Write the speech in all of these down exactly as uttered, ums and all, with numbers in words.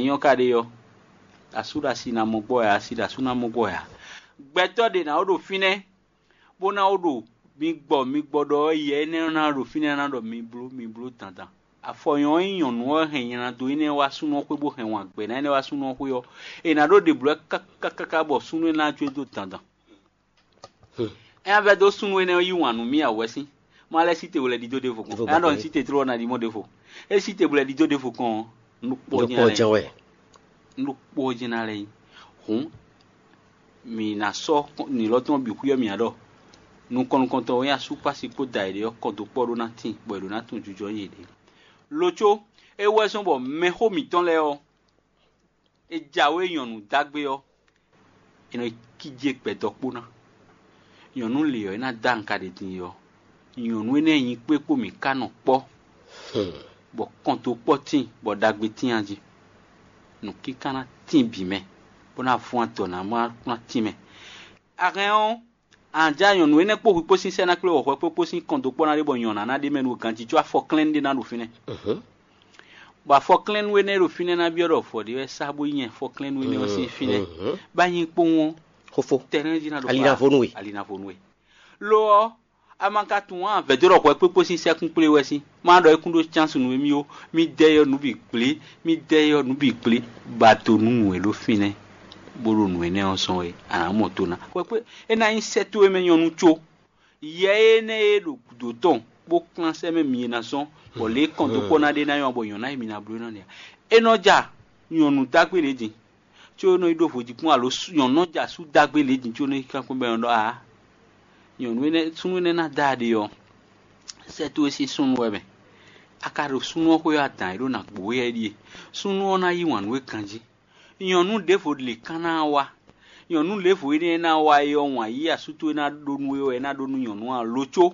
Nyɔ ka ɖe ɔ́, asú ɖo asi ná mɔ gbɔ ya, asi ɖo asú ná mɔ gbɔ ya. Gbɛtɔ́ ɖě ná wó ɖo fínɛ́, bó ná wó ɖo mi gbɔ mi gbɔ ɖɔ ɔ́, yɛ énɛ́ ɔ́ ná ɖo fínɛ́ ná ɖɔ mi bló mi bló dandan. Afɔ nyɔ̌ ɔ́ nyí nyɔ̌nu ɔ́ hɛn nylado énɛ́ wá súnnu ɔ́ xwé bó hɛn wǎn gbɛ́ ná énɛ́ wá súnnu ɔ́ xwé ɔ́, è nǎ ɖó ɖe blǒ ɛ káká káká bɔ súnnu énɛ́ ná jó e dó dandan. É ná vɛ́ dó súnnu énɛ́ ɔ́ yí wǎn nú mì ǎ wɛ sín. Má lɛ́ sí te wlɛ́ ɖidó ɖěvo kɔn. É ná ɖɔ un sí te tló ɔ́ ná ɖi mɔ ɖěvo. É sí te wlɛ́ ɖidó ɖěvo kɔn ɔ́, nukpɔ́ jɛ́n lɛ́. Wɛ. Nukpɔ́ jɛ́n ná lɛ́ nyí. Hǔn mǐ ná sɔ́ nǐlɔ́ tɔn bǐ xwíyɔ́ mǐ ǎ ɖɔ nukɔn nukɔntɔn wɛ nyí asúkpási kpó da yěɖée ɔ́ kɔn dó kpɔ́ ɖó ná tíin bɔ è ɖǒ ná tunwun jijɔ nyi yěɖée. Lo có, é wɛ zɔ́n bɔ mɛxó mǐtɔn lɛ́ɛ ɔ́, è jǎwe nyɔ̌nu dó agbe ɔ́, è nɔ yi kíjé gbɛdɔkpó ná. Nyɔ̌nu lě ɔ́, é ná dó anga ɖě din ɔ́, nyɔ̌nu énɛ́ nyi kpé kpó mǐ ká nɔ kpɔ́, bɔ kɔnto kpɔ́ tíin, bɔ ɖagbe tíin jí. Nǔkíká ná tíin bǐ mɛ, bó ná vɔ́n adɔ ná má ná tíin mɛ. A hɛn ɔ́, a nǎ já nyɔ̌nu énɛ́ kpó hwi kpó sín sɛ́ ná kplé wɔ̌xɔ́ kpó kpó sín kɔn dó kpɔ́ ná ɖé bɔ nyɔ̌ná ná ɖ'é mɛ nú ganjí có afɔklɛ́nú ɖé ná ɖo fínɛ́. Bɔ afɔklɛ́nú énɛ́ e ɖo fínɛ́ ná byɔ́ ɖɔ vɔ̌ ɖé wɛ sá bó nyɛ afɔklɛ́nú énɛ́ ɔ́ sín fínɛ́. Bá nyí kpowun ɔ́, Xofó. Tɛnɛ́ jí ná ɖo Ali ná vo nú we. Ali ná vo nú we. Lo ɔ́, a ma ka tunwun ǎ, vɛ̌ dó ɖɔ hwɛ kpékpé sín sɛ́kún kplé wɛ sín. Má ɖɔ é kún ɖó cánsunu émí ó, mí dɛ yɔ nǔ bǐ gblé, mí dɛ yɔ nǔ bǐ gblé, ba do nú nǔ e ɖo fínɛ́, bó ɖo nǔ énɛ́ ɔ́ zɔ́n é, a nǎ mɔ to ná. Hwɛ kpé, é ná nyí sɛ́ towe mɛ nyɔ́nu có. Yɛ énɛ́ e ɖo gǔdo tɔn bó kplán sɛ́ mɛ mi e ná zɔ́n, bɔ lě e kɔn dó kpɔ́ ná ɖe ná nyɔ́ bɔ nyɔ̌ná e mi ná bló é nɔ ɖe ǎ. É nɔ ja nyɔ̌nu dó agbe lě din, có é nɔ yi ɖó vodíkpɔ́n alo nyɔ̌nu nɔ ja sú dó agbe lě din có é nɔ yi kankwɛ́ bɔ é nɔ ɖɔ aa, nyɔ̌nu énɛ́ súnnu énɛ́ ná dó aɖe ɔ́, sɛ́ towe sín súnnu wɛ mɛ. A ka ɖo súnnu ɔ́ xwé ɔ́, adǎn e ɖó ná gbǒ wɛ é ɖíe. Súnnu ɔ́ ná yí wǎn nú we ganjí. Nyɔ̌nu ɖěvo lě kán ná wá. Nyɔ̌nu ɖěvo énɛ́ e ná wá é ɔ́, wǎn yíyí asú towe ná ɖó nú we wɛ é ná ɖó nú nyɔ̌nu ǎ, lo có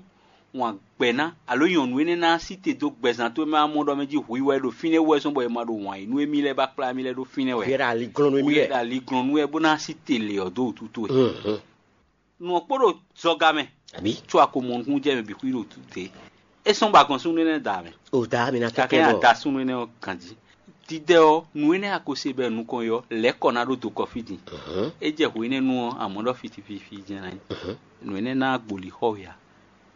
wǎn gbɛ̌ ná, alo nyɔ̌nu énɛ́ ná sí te dó gbɛzán towe mɛ amɔ́ ɖɔ mɛ jí hwi wɛ ɖo fínɛ́ wú wɛ zɔ́n bɔ è ma ɖo wǎn yí nú émí lɛ́ɛ bá kplá émí lɛ́ɛ ɖó fínɛ́ wɛ. Wɛ ɖo ali glɔ́n nú émí Wɛ lɛ́ɛ. Ɖo ali glɔ́n nú wɛ bó ná sí te lě ɔ́ dó wútu towe. Mhm. Nǔ ɔ́ kpo ɖo zɔga mɛ, Àbí? Có a ko mɔ nukúnnú jɛ mɛ bǐ xwí ɖo tute. É sɔ́n bɔ a gɔn súnnu énɛ́ da mɛ. O da mi ná Kakɛ kɛkɛ ya bɔ. Da súnnu énɛ́ ɔ́ ganjí. Didɛ ɔ́, nǔ énɛ́ a ko se bɔ nukɔn ɔ́, lɛ̌ kɔ ná ɖó do kɔ fí din. Mhm. É jɛ hwe énɛ́ nu ɔ́, amɔ̌ ɖɔ fitififi jɛ́n ná nyí. Mhm. Nǔ énɛ́ ná gboli xɔ we ǎ.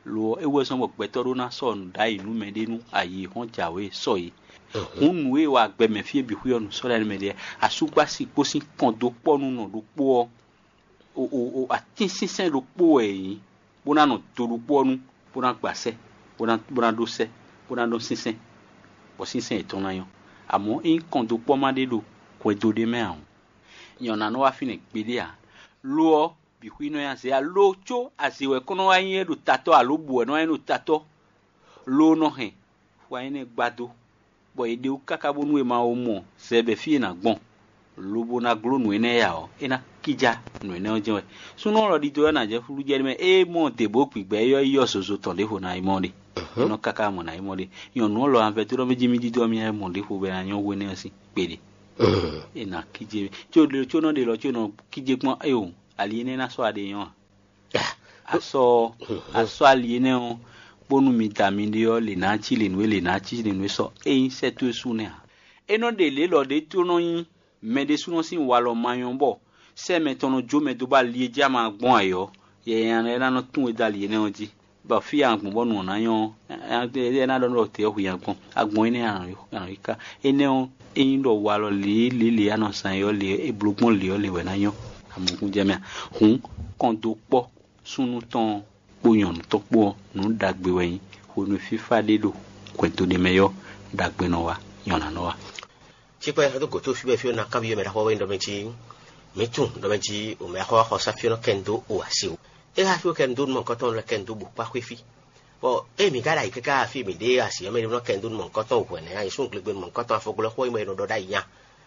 Lo ɔ́, é wɛ zɔ́n bɔ gbɛtɔ́ ɖó ná sɔ́ nǔ ɖ'ayǐ nú mɛɖé nú ayǐ hɔn jǎwe sɔ é. Mhm. Hǔn nǔ e wa gbɛ mɛ fí e bǐ xwí ɔ́ nǔ sɔ́ ɖ'ayǐ nú mɛɖé, asúgbási kpó sín kɔn dó kpɔ́ nú nɔ ɖokpó ɔ́, o o o atínsínsɛ́n ɖokpó wɛ è nyǐ, bó ná nɔ do ɖokpó ɔ́ nu, bó ná gba sɛ́, bó ná bó ná ɖó sɛ́, bó ná ɖó sínsɛ́n, bɔ sínsɛ́n yětɔn ná nyɔ́. Amɔ̌, ényí kɔn dó kpɔ́ má ɖé ɖo hwɛndo ɖé mɛ ǎ ɔ́, nyɛ ɔ́ ná nɔ wá fínɛ́ gbeɖé ǎ. Lo ɔ́, bǐ xwí nɔ nyi azě ǎ. Lo có azě wɛ kɔn nɔ wá nyí é ɖo tatɔ́ alo bǔ wɛ nɔ wá nyí ɖo tatɔ́, lo nɔ hɛn xwa énɛ́ gbadó, bɔ è ɖe wú káká bónú è ma wó mɔ zɛ bɔ fí è nǎ gbɔn, lobo ná gló nǔ énɛ́ ya ɔ́, é ná kíjá nǔ énɛ́ ɔ́ jɛ́n wɛ. Súnnu ɔ́ lɔ ɖidó ɔ́ ná jɛ flú jɛ mɛ, é mɔ dě bó gbǐgbɛ́ é ɔ́ yi ɔ́ zozo tɔn ɖěvo ná yi mɔ ɖe. É nɔ káká mɔ ná yi mɔ ɖe. Nyɔ̌nu ɔ́ lɔ anvɛ dó ɖɔ mɛ jí mí ɖidó ɔ́ mí ná yi mɔ ɖěvo bɔ é ná nyɔ́ hwe nɛ́ ɔ́ sín kpeɖe. É ná kíjé có ɖe có nɔ ɖe lɔ có nɔ kíjé kpɔ́n éo, ali énɛ́ ná sɔ́ aɖe nyɔ́ a? Asɔ asɔ ali énɛ́ ɔ́, bónú mi da mi ɖe ɔ́, lě ná cí lě nú é, lě ná cí lě nú é sɔ. Ényí sɛ́ towe sú nɛ́ ǎ. É nɔ ɖe lě lɔ ɖé tó nɔ nyí mɛ ɖésúnɔ sín walɔ ma nyɔ́ bɔ sɛ́ mɛ tɔn nɔ jó mɛ dó bɔ ali e jí a ma gbɔn ayǐ ɔ́, yɛ nya lɛ́ɛ ná nɔ tún we dó ali énɛ́ ɔ́ jí, bɔ fí e a gbɔn bɔ nǔ ɔ́ ná nyɔ́ ɔ́, é ná ɖɔ nú ɖɔ tě ɔ́ hu nyi agbɔn. Agbɔn énɛ́ a nɔ yi ká. Énɛ́ ɔ́, ényí ɖɔ walɔ lě e lě e a nɔ zán é ɔ́ lě e bló gbɔn lě ɔ́ lě wɛ ná nyɔ́. Amɔkún jɛ mɛ a? Hǔn kɔn dó kpɔ́ súnnu tɔn ɔ́ kpó nyɔ̌nu tɔn kpó ɔ́, nǔ ɖagbe wɛ nyí. Hwenu e fífá ɖé ɖo hwɛndo ɖé mɛ ɔ́, ɖagbe nɔ wá, nyɔ̌ná nɔ wá. Cikpɛ dó gǒto fí bɔ fí ɔ́ ná kanbyɔ́ mɛ ɖaxó wɛ ɖɔ mɛ jí mǐ tunwun ɖɔ mɛ jí mɛ ɖaxó wá xɔ sá fí ɔ́ nɔ kɛ nu dó o asi o. É xá fí ɔ́ kɛ nu dó nú mɔ̌hunkɔtɔn lɛ́ɛ kɛ nu dó bǔ kpá xwé fí. Bɔ ée mǐ ka ɖo ayǐ káká fí mǐ ɖe asi ɔ́ mɛ ɖé nɔ kɛ nu dó nú mɔ̌hunkɔtɔn hwɛ̌ nɛ́, ayǐ súnnu glegbenu mɔ̌hunkɔtɔn afɔglɔ́xó e mɛ è nɔ ɖɔ ɖ'ayǐ nya.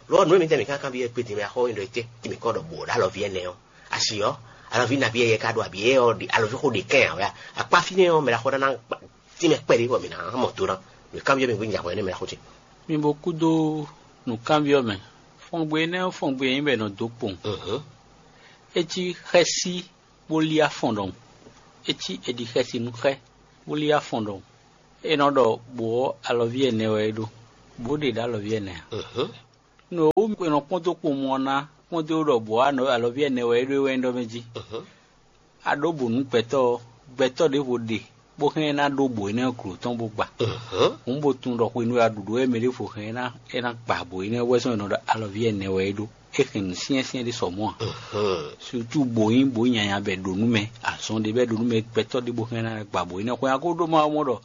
Lo ɔ́, nǔ e mǐtɛn mǐ ka kanbyɔ́ kpé din mɛ axɔ́ nyí ɖɔ étɛ́ mǐ kɔ ɖɔ bǔ ɖo alɔví ɛnɛ ɔ́, asi ɔ́, alɔví nabí yɛ ka ɖo abǐ ɔ́ ɖi alɔví xó ɖe kɛ́n ǎ wɛ a? Akpá fínɛ́ ɔ́, mɛ ɖaxó ná ná tínmɛ kpɛɖé bɔ mǐ ná mɔ do ná. Mǐ kanbyɔ́ mɛ bó nyi ahwan énɛ́ mɛ ɖaxó ce. Mi bo kúdó nǔkanbyɔ́ mɛ. Fɔngbe énɛ́ ɔ́, fɔngbe e nyí bɔ è nɔ dó kpowun. É cí xɛ́sí bó lí afɔn ɖɔhun. É cí è ɖi xɛsi nú xɛ bó lí afɔn ɖɔhun. É nɔ ɖɔ bǒ ɔ́, alɔví ɛnɛ wɛ é ɖó. Bǒ ɖe ɖo alɔví ɛnɛ ǎ. Nǔ e wú è nɔ kpɔ́n dó kpowun ɔ́ ná kpɔ́n dó ɖɔ bǒ alɔví ɛnɛ wɛ é ɖó é wɛ nyí ɖɔ mɛ jí. A ɖó bǒ nú gbɛtɔ́ ɔ́, gbɛtɔ́ ɖěvo ɖe bó hɛn ná ɖó bǒ énɛ́ glo tɔn bó gba. Hǔn bó tunwun ɖɔ hwenu e a ɖu ɖǒ wɛ mɛ ɖěvo hɛn é ná é ná gba bǒ énɛ́ wɛ zɔ́n è nɔ ɖɔ alɔví ɛnɛ wɛ é ɖó. É hɛn nǔ syɛ́nsyɛ́n ɖé sɔ mɔ̌ ǎ. Sutu bǒ nyí bǒ nyanya bɛ ɖo nú mɛ, azɔn ɖé bɛ ɖo nú mɛ gbɛtɔ́ ɖé bó hɛn ná gba bǒ énɛ́ hwɛ a ko ɖó ma mɔ ɖɔ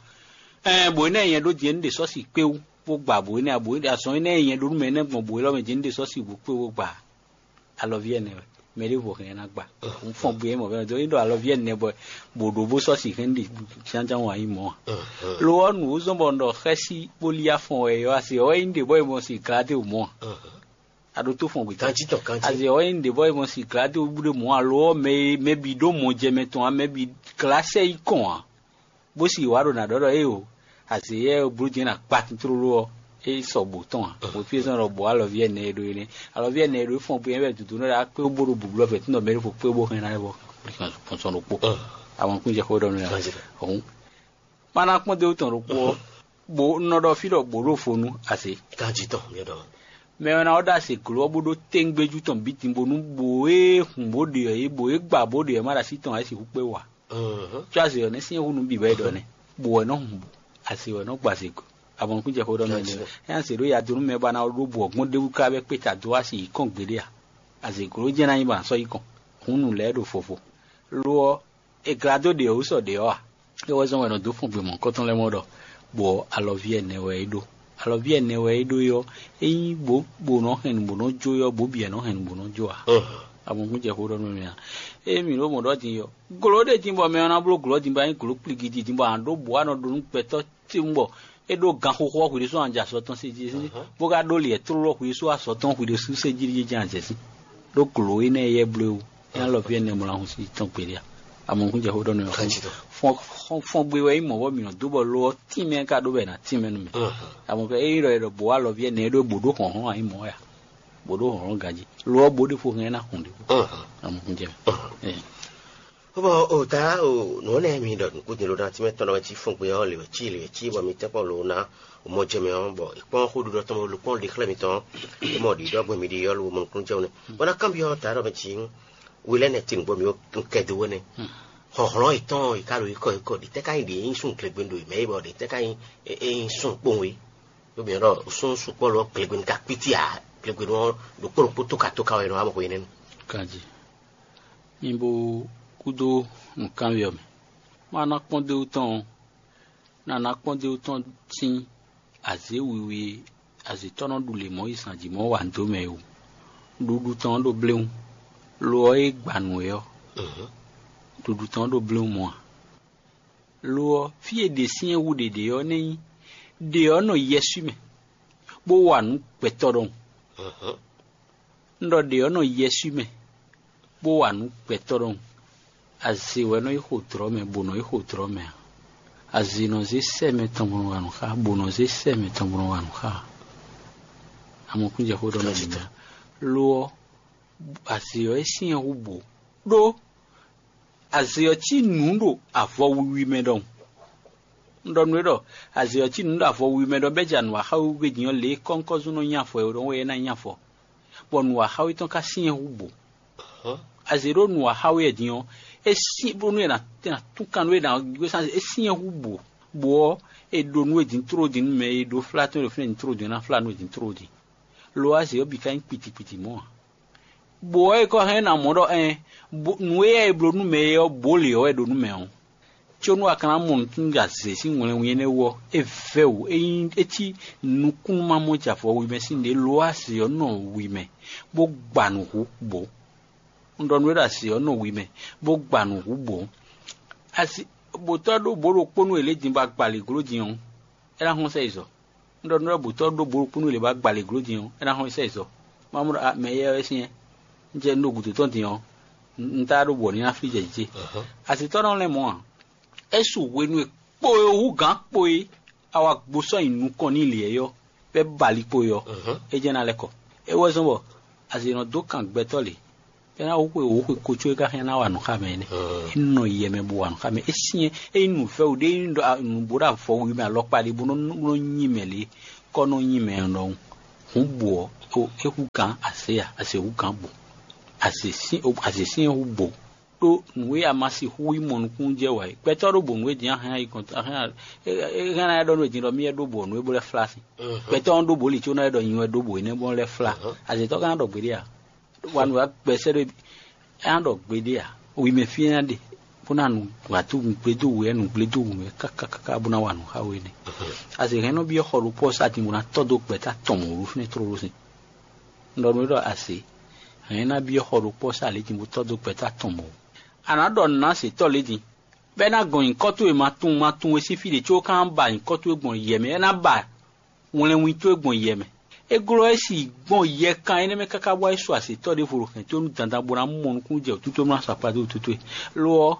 ɛn bǒ énɛ́ nyɛ ɖó din é ní ɖe sɔ́si kpé wú bó gba bǒ énɛ́ ǎ. Bǒ azɔn énɛ́ nyɛ ɖó nú mɛ énɛ́ gbɔn bǒ élɔ́ mɛ din é ní ɖe sɔ́si bó kpé wú bó gba alɔví ɛnɛ wɛ. Mɛ ɖěvo hɛn ná gba. Un fɔn gbe mɔ bɛ do é ɖo alɔví ɛnɛ bɔ bǒ ɖó bó sɔ́si hɛn ɖi jánján wǎ nyí mɔ̌ ǎ. Lo ɔ́ nǔ ó zɔ́n bɔ un ɖɔ xɛ́sí bó lí afɔn wɛ é ɔ́, asi ɔ́ é nyí ɖě bɔ é mɔ si glá dé wǔ mɔ̌ ǎ. A ɖo tó fɔn gbe Kanjí tɔn kanjí. Asi ɔ́ é nyí ɖě bɔ é mɔ si glá dé wú ɖé mɔ̌ ǎ. Lo ɔ́ mɛ e mɛ bǐ ɖó mɔ jɛ mɛ tɔn ǎ, mɛ bǐ glá sɛ yi kɔn ǎ. Bó si wǎ ɖo nǎ ɖɔ ɖɔ éeǒ, azě yɛ e bló din ná kpa tlóló ɔ́, é sɔ bǒ tɔn ǎ. Bǒ fí e zɔ́n ɖɔ bǒ alɔví ɛnɛ e ɖó énɛ́. Alɔví ɛnɛ e ɖó é fɔn bó nyɛ wɛ dǔdú nɔ ɖo akpé bó ɖo bǔblɔ́ fɛ́ tún ɖɔ mɛ ɖěvo kpé bó hɛn ná é bɔ sɔn ɖokpó. Àwọn kún jɛ xó ɖɔ nú yà. Hǔn má ná kpɔ́n dó tɔn ɖokpó ɔ́, bó un nɔ ɖɔ fí ɖɔ bǒ ɖo fo nú azě. Kanjí tɔn mi ɖɔ. Mɛ ɔ́ ná ɔ́ ɖo azě gló ɔ́ bó ɖó téŋgbéjú tɔn bǐ din bónú bǒ e hun bó ɖe ɔ́ é bǒ e gba bó ɖe ɔ́ má ɖo así tɔn ǎ é sixú kpé wǎ. Có azě ɔ́ nɛ́ syɛ́n hú nǔ bǐ wɛ é ɖɔ nɛ́. Bǒ wɛ nɔ hun bǔ, azě wɛ nɔ gba azě go. Abɔnukún jɛ xó ɖɔ mɛ lɛ. É azě ɖó ya dó nú mɛ ba ná ɖó bǔ ɔ́ gbɔn ɖ'é wú ká bɛ́ kpé ta dó wá si yi kɔn gbeɖé a? Azě gló jɛ́n ná nyí ba sɔ́ yi kɔn. Hǔn nǔ lɛ́ɛ ɖo fofo. Lo ɔ́, è glá dó ɖě ɔ́ wú sɔ ɖě ɔ́ a? É wɛ zɔ́n wɛ è nɔ dó fun gbe mɔ̌hunkɔtɔn lɛ́ɛ mɔ ɖɔ bǒ ɔ́, alɔví ɛnɛ wɛ é ɖó. Alɔví ɛnɛ wɛ é ɖó é ɔ́, é nyí bǒ bǒ nɔ hɛn nǔ bó nɔ jó é ɔ́, bǒ bǐ wɛ nɔ hɛn nǔ bó nɔ jó ǎ. Abɔnukún jɛ xó ɖɔ nú mɛ a? Ée mǐ ɖó mɔ̌ ɖɔ din ɔ́, glǒ ɖé din bɔ mɛ ɔ́ ná bló glɔ̌ din bɔ é nyí glǒ kpligi din bɔ a nǎ ɖó bǔ a nɔ ɖó nú gbɛtɔ́ tewun bɔ é ɖó ganxoxo ɔ́ hwi ɖésú anjɛ azɔ̌ tɔn sé jí, bó ka ɖó liɛ tlóló hwi ɖésú azɔ̌ tɔn hwi ɖésú sé jí jɛ́n azɛ̌ sín. Ɖó glǒ énɛ́ e yɛ bló é wú, é ná lɔ fí ɛnɛ mlɔ́ ahun sí tɔn gbeɖé a? Amɔ̌kún jɛ xó ɖɔ nú ɛ. Fɔn gbe wɛ nyí mɔ̌ bɔ mǐ nɔ dó bɔ lo ɔ́ tínmɛ ka ɖó bɔ è nǎ tínmɛ nú mì. Amɔ̌kún ényí ɖɔ è ɖɔ bǒ alɔví ɛnɛ é ɖó bǒ ɖó hlɔ̌nhlɔ́n ǎ nyí mɔ̌ wɛ a? Bǒ ɖó hlɔ̌nhlɔ́n ganjí. Lo ɔ́ bó ɖé fo hɛn ná hun ɖě. Amɔ̌kún jɛ mɛ. Bɔ o ta o nǔ nɛ mi ɖɔ nǔkúndin ló ná tí mɛ tɔn ɖɔ wɛ cí fún gbe ɔ́ lě wɛ cí lě wɛ cí bɔ mi tɛ́nkpɔ́n ló ná o mɔ jɛ mɛ ɔ́ bɔ è kpɔ́n xóɖuɖɔ tɔn bó kpɔ́n ɖe xlɛ́ mitɔn é mɔ ɖǐ ɖɔ gbɔn mi ɖi ɔ́ ló mɔ nukúnnú jɛ nɛ bɔ ná kanbyɔ́ ta ɖɔ mɛ cí we lɛ́ nɛ tin gbɔ mi ó kɛ do wɛ nɛ hlɔ̌nhlɔ́n yětɔn yě ká ɖo yí kɔ yí kɔ ɖi tɛ́ ká nyi ɖě nyí sún glegbenu ɖo yě mɛ é bɔ ɖě tɛ́ ká nyi é nyí sún kpowun é ɖó mi ɖɔ sún sukpɔ́ lɔ glegbenu ká kpítí ǎ glegbenu ɔ́ ɖokpó ɖokpó tóka tóka wɛ nɔ wá mɔ xwe nɛnu. Kanjí. Mi bo kúdó nǔkanwí ɔ́ mɛ. Má ná kpɔ́n dó tɔn ɔ́, ná ná kpɔ́n dó tɔn sín azě wiwi e azǐtɔ́ nɔ ɖu lě mɔ̌ yi zǎn jí mɔ̌ wa dó mɛ é wú. Ɖuɖu tɔn ɔ́ ɖo bléwún, lo ɔ́ e gba nǔ é ɔ́, ɖuɖu tɔn ɔ́ ɖo bléwún mɔ̌ ǎ. Lo ɔ́, fí e ɖe syɛ́n hú ɖě ɖe ɔ́ nɛ́ nyí ɖě ɔ́ nɔ yɛswí mɛ, bó wa nǔ gbɛtɔ́ ɖɔhun. Un ɖɔ ɖě ɔ́ nɔ yɛswí mɛ, bó wa nǔ gbɛtɔ́ ɖɔhun. Azě wɛ nɔ yi xo dlɔ̌ mɛ, bó nɔ yi xo dlɔ̌ mɛ ǎ. Azě nɔ zé sɛ́ mɛ tɔn bó nɔ wa nǔ xá, bó nɔ zé sɛ́ mɛ tɔn bó nɔ wa nǔ xá ǎ. Amɔkúnjɛ xó ɖɔ mɛ ɖě mɛ. Lo ɔ́, azě ɔ́ é syɛ́n hú bǒ ɖó azě ɔ́ cí nǔ ɖo avɔ wiwi mɛ ɖɔhun. Un ɖɔ nú we ɖɔ azě ɔ́ cí nǔ ɖo avɔ wiwi mɛ ɖɔhun bɔ é ja nǔ wa xá we wú gbé din ɔ́, lě e kɔ́nkɔ́zún nɔ nyi afɔ é ɖɔhun wɛ é ná nyi afɔ, bɔ nǔ wa xá we tɔn ka syɛ́n hú bǒ. Azě ɖó nǔ wa xá we wɛ din ɔ́, é syɛ́n bónú è nǎ tún kan nú é ná gbé sán é syɛ́n hú bǒ, bǒ ɔ́, è ɖo nú we din tló din nú mɛ e ɖó flá tɔn e ɖo fínɛ́ din tló din é ná flá nú we din tló din. Lo ɔ́, azě ɔ́ bǐ ka nyí kpitikpiti mɔ̌ ǎ. Bǒ ɔ́, è kɔ hɛn ná mɔ ɖɔ ɛn nǔ e yɛ è bló nú mɛ é ɔ́, bǒ lě ɔ́ wɛ ɖo nú mɛ ɔ́. Có nú a ka ná mɔ nǔtúnúɖagbe zě sín wlɛnwun énɛ́ wú ɔ́, é vɛ́ wǔ. É nyí é cí nukúnnú ma mɔ jɛ avɔ wi mɛ sín ɖě lo ɔ́, azě ɔ́ nɔ wi mɛ, bó gba nǔ hú bǒ. Un ɖɔ nú we ɖɔ azě ɔ́ nɔ wi mɛ, bó gba nǔ hú bǒ. Asi bǒtɔ́ ɖó bǒ ɖokpó nú è lě din bɔ a gba lě gló din ɔ́, é ná hɔn sɛ yi zɔ. Un ɖɔ nú we ɖɔ bǒtɔ́ ɖó bǒ ɖokpó nú è lě bɔ a gba lě gló din ɔ́, é ná hɔn sɛ yi zɔ. Mawu ɖɔ mɛ éyɛ́ wɛ syɛ́n. Un jɛ un ɖo gǔdo tɔn din ɔ́, un tá ɖó bɔ ní ná flí jɛ jǐ ce. Asitɔ́ nɔ lɛ́n mɔ̌ ǎ. É su hwenu e kpo e hú gǎn kpo e a wá gbó sɔ́ nyi nukɔn n'i lě é ɔ́, bɔ é ba ali kpo e ɔ́, é jɛ́n ná lɛ́ kɔ. É wɛ zɔ́n bɔ azě nɔ dó kan gbɛtɔ́ lě. É ná wú xwe wǒ xwe ko có é ka hɛn ná wa nǔ xá mɛ énɛ́. É nɔ yɛ mɛ bó wa nǔ xá mɛ. É syɛ́n é nyí nǔvɛ́wǔ ɖé é nyí ɖɔ nǔ bó ɖo avɔ wi mɛ alɔkpa ɖé bó nɔ nɔ nyi mɛ lě kɔ nɔ nyi mɛ ɔ́ ɖɔhun. Hǔn bo ɔ́, é hú gǎn azě a, azě hú gǎn bo. Azě sín azě sín é hú bo. Ɖó nǔ e a ma sixú yi mɔ nukúnnú jɛ wǎ é, gbɛtɔ́ ɖó bo nǔ e din a hɛn ayi kɔn a hɛn a- é é hɛn ná ɖɔ nú e din ɖɔ mì wɛ ɖó bo nǔ e bó lɛ́ flá sín. Gbɛtɔ́ ɔ́ ɖó bo li có ná ɖɔ nyi wɛ ɖó bo énɛ́ bó lɛ́ flá. Azětɔ́ ka ná ɖɔ gbeɖé a? Wa nǔ wa gbɛsɛ ɖé é ná ɖɔ gbeɖé a? Wi mɛ fí é ná ɖe bó ná nu wǎtú nǔgblédó wǔ wɛ nǔgblédó wǔ wɛ káká káká bó ná wa nǔ xá we nɛ́. Azě hɛn nɔ byɔ́ xɔ ɖokpó ɔ́ sá din bó ná tɔ́ dó gbɛ̌ta tɔn mɔ̌ ɖó fínɛ́ tlóló sin. Un ɖɔ nú we ɖɔ azě hɛn ná byɔ́ xɔ ɖokpó ɔ́ sá lě din bó tɔ́ dó gbɛ̌ta tɔn mɔ̌. A nǎ ɖɔ nǔ ná zětɔ́ lě din, bɔ é ná gɔn nyǐkɔ towe ma tunwun ma tunwun we sín fí ɖě có é ka ná ba nyǐkɔ towe gbɔn yɛ mɛ, é ná ba wlɛnwin towe gbɔn yɛ mɛ. É glɔ́ é si gbɔn yɛkan énɛ́ mɛ káká bɔ é su azětɔ́ ɖěvo ɖo hɛ̌n towe nú dandan bó ná mɔ nukúnnú jɛ wǔtú towe bó ná su akpá dó wǔtú towe. Lo ɔ́,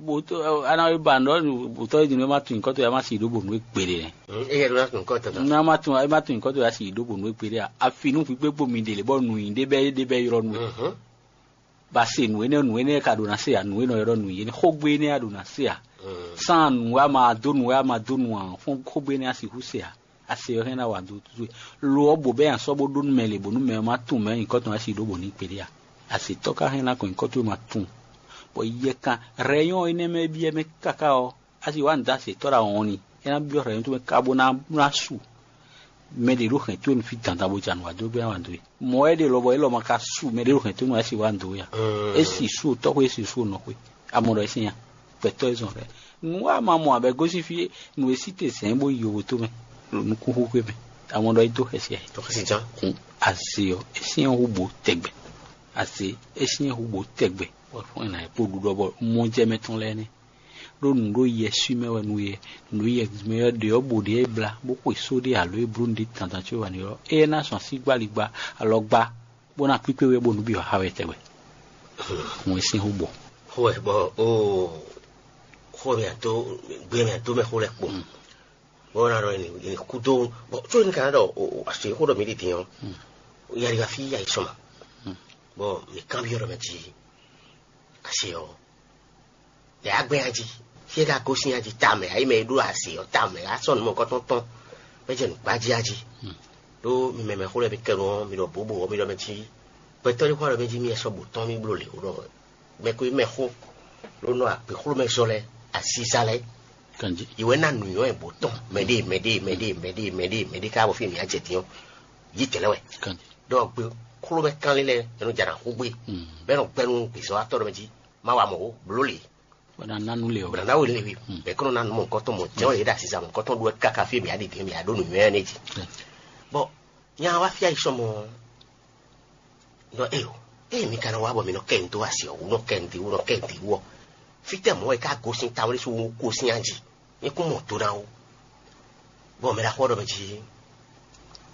bǒtɔ́ a ná ba nǔ ɖɔ bǒtɔ́ é din nú é má tunwun nyǐkɔ towe a má si ɖó bǒ nǔ e gbeɖé nɛ́. Ě yɛ ɖó ná tunwun kɔ́ tɔn tɔn. Nú a má tunwun é má tunwun nyǐkɔ towe a si ɖó bǒ nǔ e gbeɖé a? Afi nú hwǐgbégbó mi ɖe lě bɔ nǔnyi ɖé bɛ́ ɖé bɛ́ ylɔ́ nú we. Ba se nǔ énɛ́ nǔ énɛ́ ka ɖo ná se a nǔ e nɔ ylɔ́ nǔ yě xógbe énɛ́ a ɖo ná se a? Sán nǔ a ma dó nǔ a ma dó nǔ a fɔ́n xógbe énɛ́ a sixú se a? A se ɔ́ hɛn ná wa dó towe. Lo ɔ́ bǒ bɛ́ nya sɔ́ bó ɖó nú mɛ lě bǒ nú mɛ ɔ́ má tunwun mɛ nyǐkɔ tɔn a si ɖó bǒ ní kpéɖé a? A se tɔ́ ka hɛn ná kɔn nyǐkɔ towe ma tunwun. Bɔ yɛ kan rɛyɔn énɛ́ mɛ byɔ́ mɛ káká ɔ́, a si wá nǔ dó a se tɔ́ ɖo awɔn ni, é ná byɔ́ rɛyɔn towe mɛ ká bó ná ná su. Mɛ ɖě ɖo hɛn towe nú fí dandan bó ja nǔ wa dó gbé wa dó e. Mɔ̌ wɛ é ɖe lɔbɔ élɔ́ ma ka su mɛ ɖé ɖo hɛn towe nú wɛ é si wa dó ya. É si su tɔ́xwé é si su nɔxwé. A mɔ ɖɔ é sín ya. Gbɛtɔ́ e zɔn rɛ. Nǔ wa ma mɔ abɛ gosín fí nǔ e sí te zɛ̌n bó yi yovo tó mɛ ɖo nukúnxúxwé mɛ. A mɔ ɖɔ é dó xɛsi ayǐ. Tɔxɛsi jan. Kun azé ɔ́ é sín hu bó tɛgbɛ. Azé é sín hu bó tɛgbɛ. Bɔ fún ɛ nǎ kpó ɖuɖɔ bɔ mɔjɛmɛ tɔn lɛ́ɛ nɛ́. Ɖó nǔ ɖo yɛ sú mɛ wɛ nú yɛ, nǔ ɖo yɛ mɛ wɛ ɖe ɔ́ bo ɖe é bla bó xwe só ɖé alo é bló nǔɖé dandan có wɛ n'i ɔ́, éyɛ́ ná sɔn asígbáligba alɔgbá bó ná kpíkpé we bónú byɔ̌ xá wɛ tɛgbɛ. Hǔn é sín xó bɔ. Xó wɛ bɔ ó xó mɛ tó gbé mɛ tó mɛ xó lɛ kpo. Bɔ ɔ́ ná ɖɔ è nǐ kú dó bɔ có ní ka ná ɖɔ así xó ɖɔ mǐ ɖi din ɔ́, yɛliga fí yá yi sɔmɔ. Bɔ mǐ kanbyɔ́ ɖɔ mɛ jí asi ɔ́, lɛ agbɛ́n ají, fí e ka gosín ají tamɛ, ayi mɛ e ɖó azě ɔ́ tamɛ, asɔ́ nǔ mɔ̌kɔtɔn tɔn, bɔ é jɛ nǔgbájí ají. Ɖó mi mɛ mɛxó lɛ́ɛ mi kɛ nu ɔ́, mi ɖɔ bǒbǒ ɔ́, mi ɖɔ mɛ jí gbɛtɔ́ ɖé xó ɖɔ mɛ jí mi sɔ́ bǒ tɔn mi bló lě wú ɖɔ mɛ ko yi mɛxó, ɖó nɔ agběxlómɛzɔ́ lɛ́ɛ, asízá lɛ́ɛ, Kanjí. Yi wɛ ná nǔnywɛ́ bǒ tɔn mɛɖée mɛɖée mɛɖée mɛɖée mɛɖée mɛɖée ká bɔ fí mi ná jɛ din ɔ́, yí tɛ̌ lɛ́ɛ wɛ. Kanjí. Ɖɔ gběxlómɛ kánlin lɛ́ɛ, é nɔ jɛ nǎ xú gbé, Mm. bɔ é nɔ gbɛ́ nú gbězɔ́watɔ́ ɖɔ mɛ jí, má wa mɔ̌ ó, bló lě. Bɔ ná ná nú le ɔ. Bɔ nǎ ná wě lě we, bɛ̌ kɔn nɔ ná nú mɔ̌hunkɔtɔn mɔ̌ jɛ́n wɛ yě ɖo asisa mɔ̌hunkɔtɔn ɖó wɛ káká fí e mǐ ɖi din mǐ ɖó nǔnywɛ́ énɛ́ jí. Bɔ nya wá fí ayi sɔmɔ ɖɔ eo, ée mi ka nɔ wá bɔ mi nɔ kɛ nǔ dó asi ɔ́, wú nɔ kɛ nǔ dó wú nɔ kɛ nǔ dó wú ɔ́, fítɛ́ mɔ̌ wɛ é ká gosín tawun ɖésú wú gosín ají? Mi kún mɔ do ná wú. Bɔ mɛ ɖaxó ɔ́ ɖɔ mɛ jí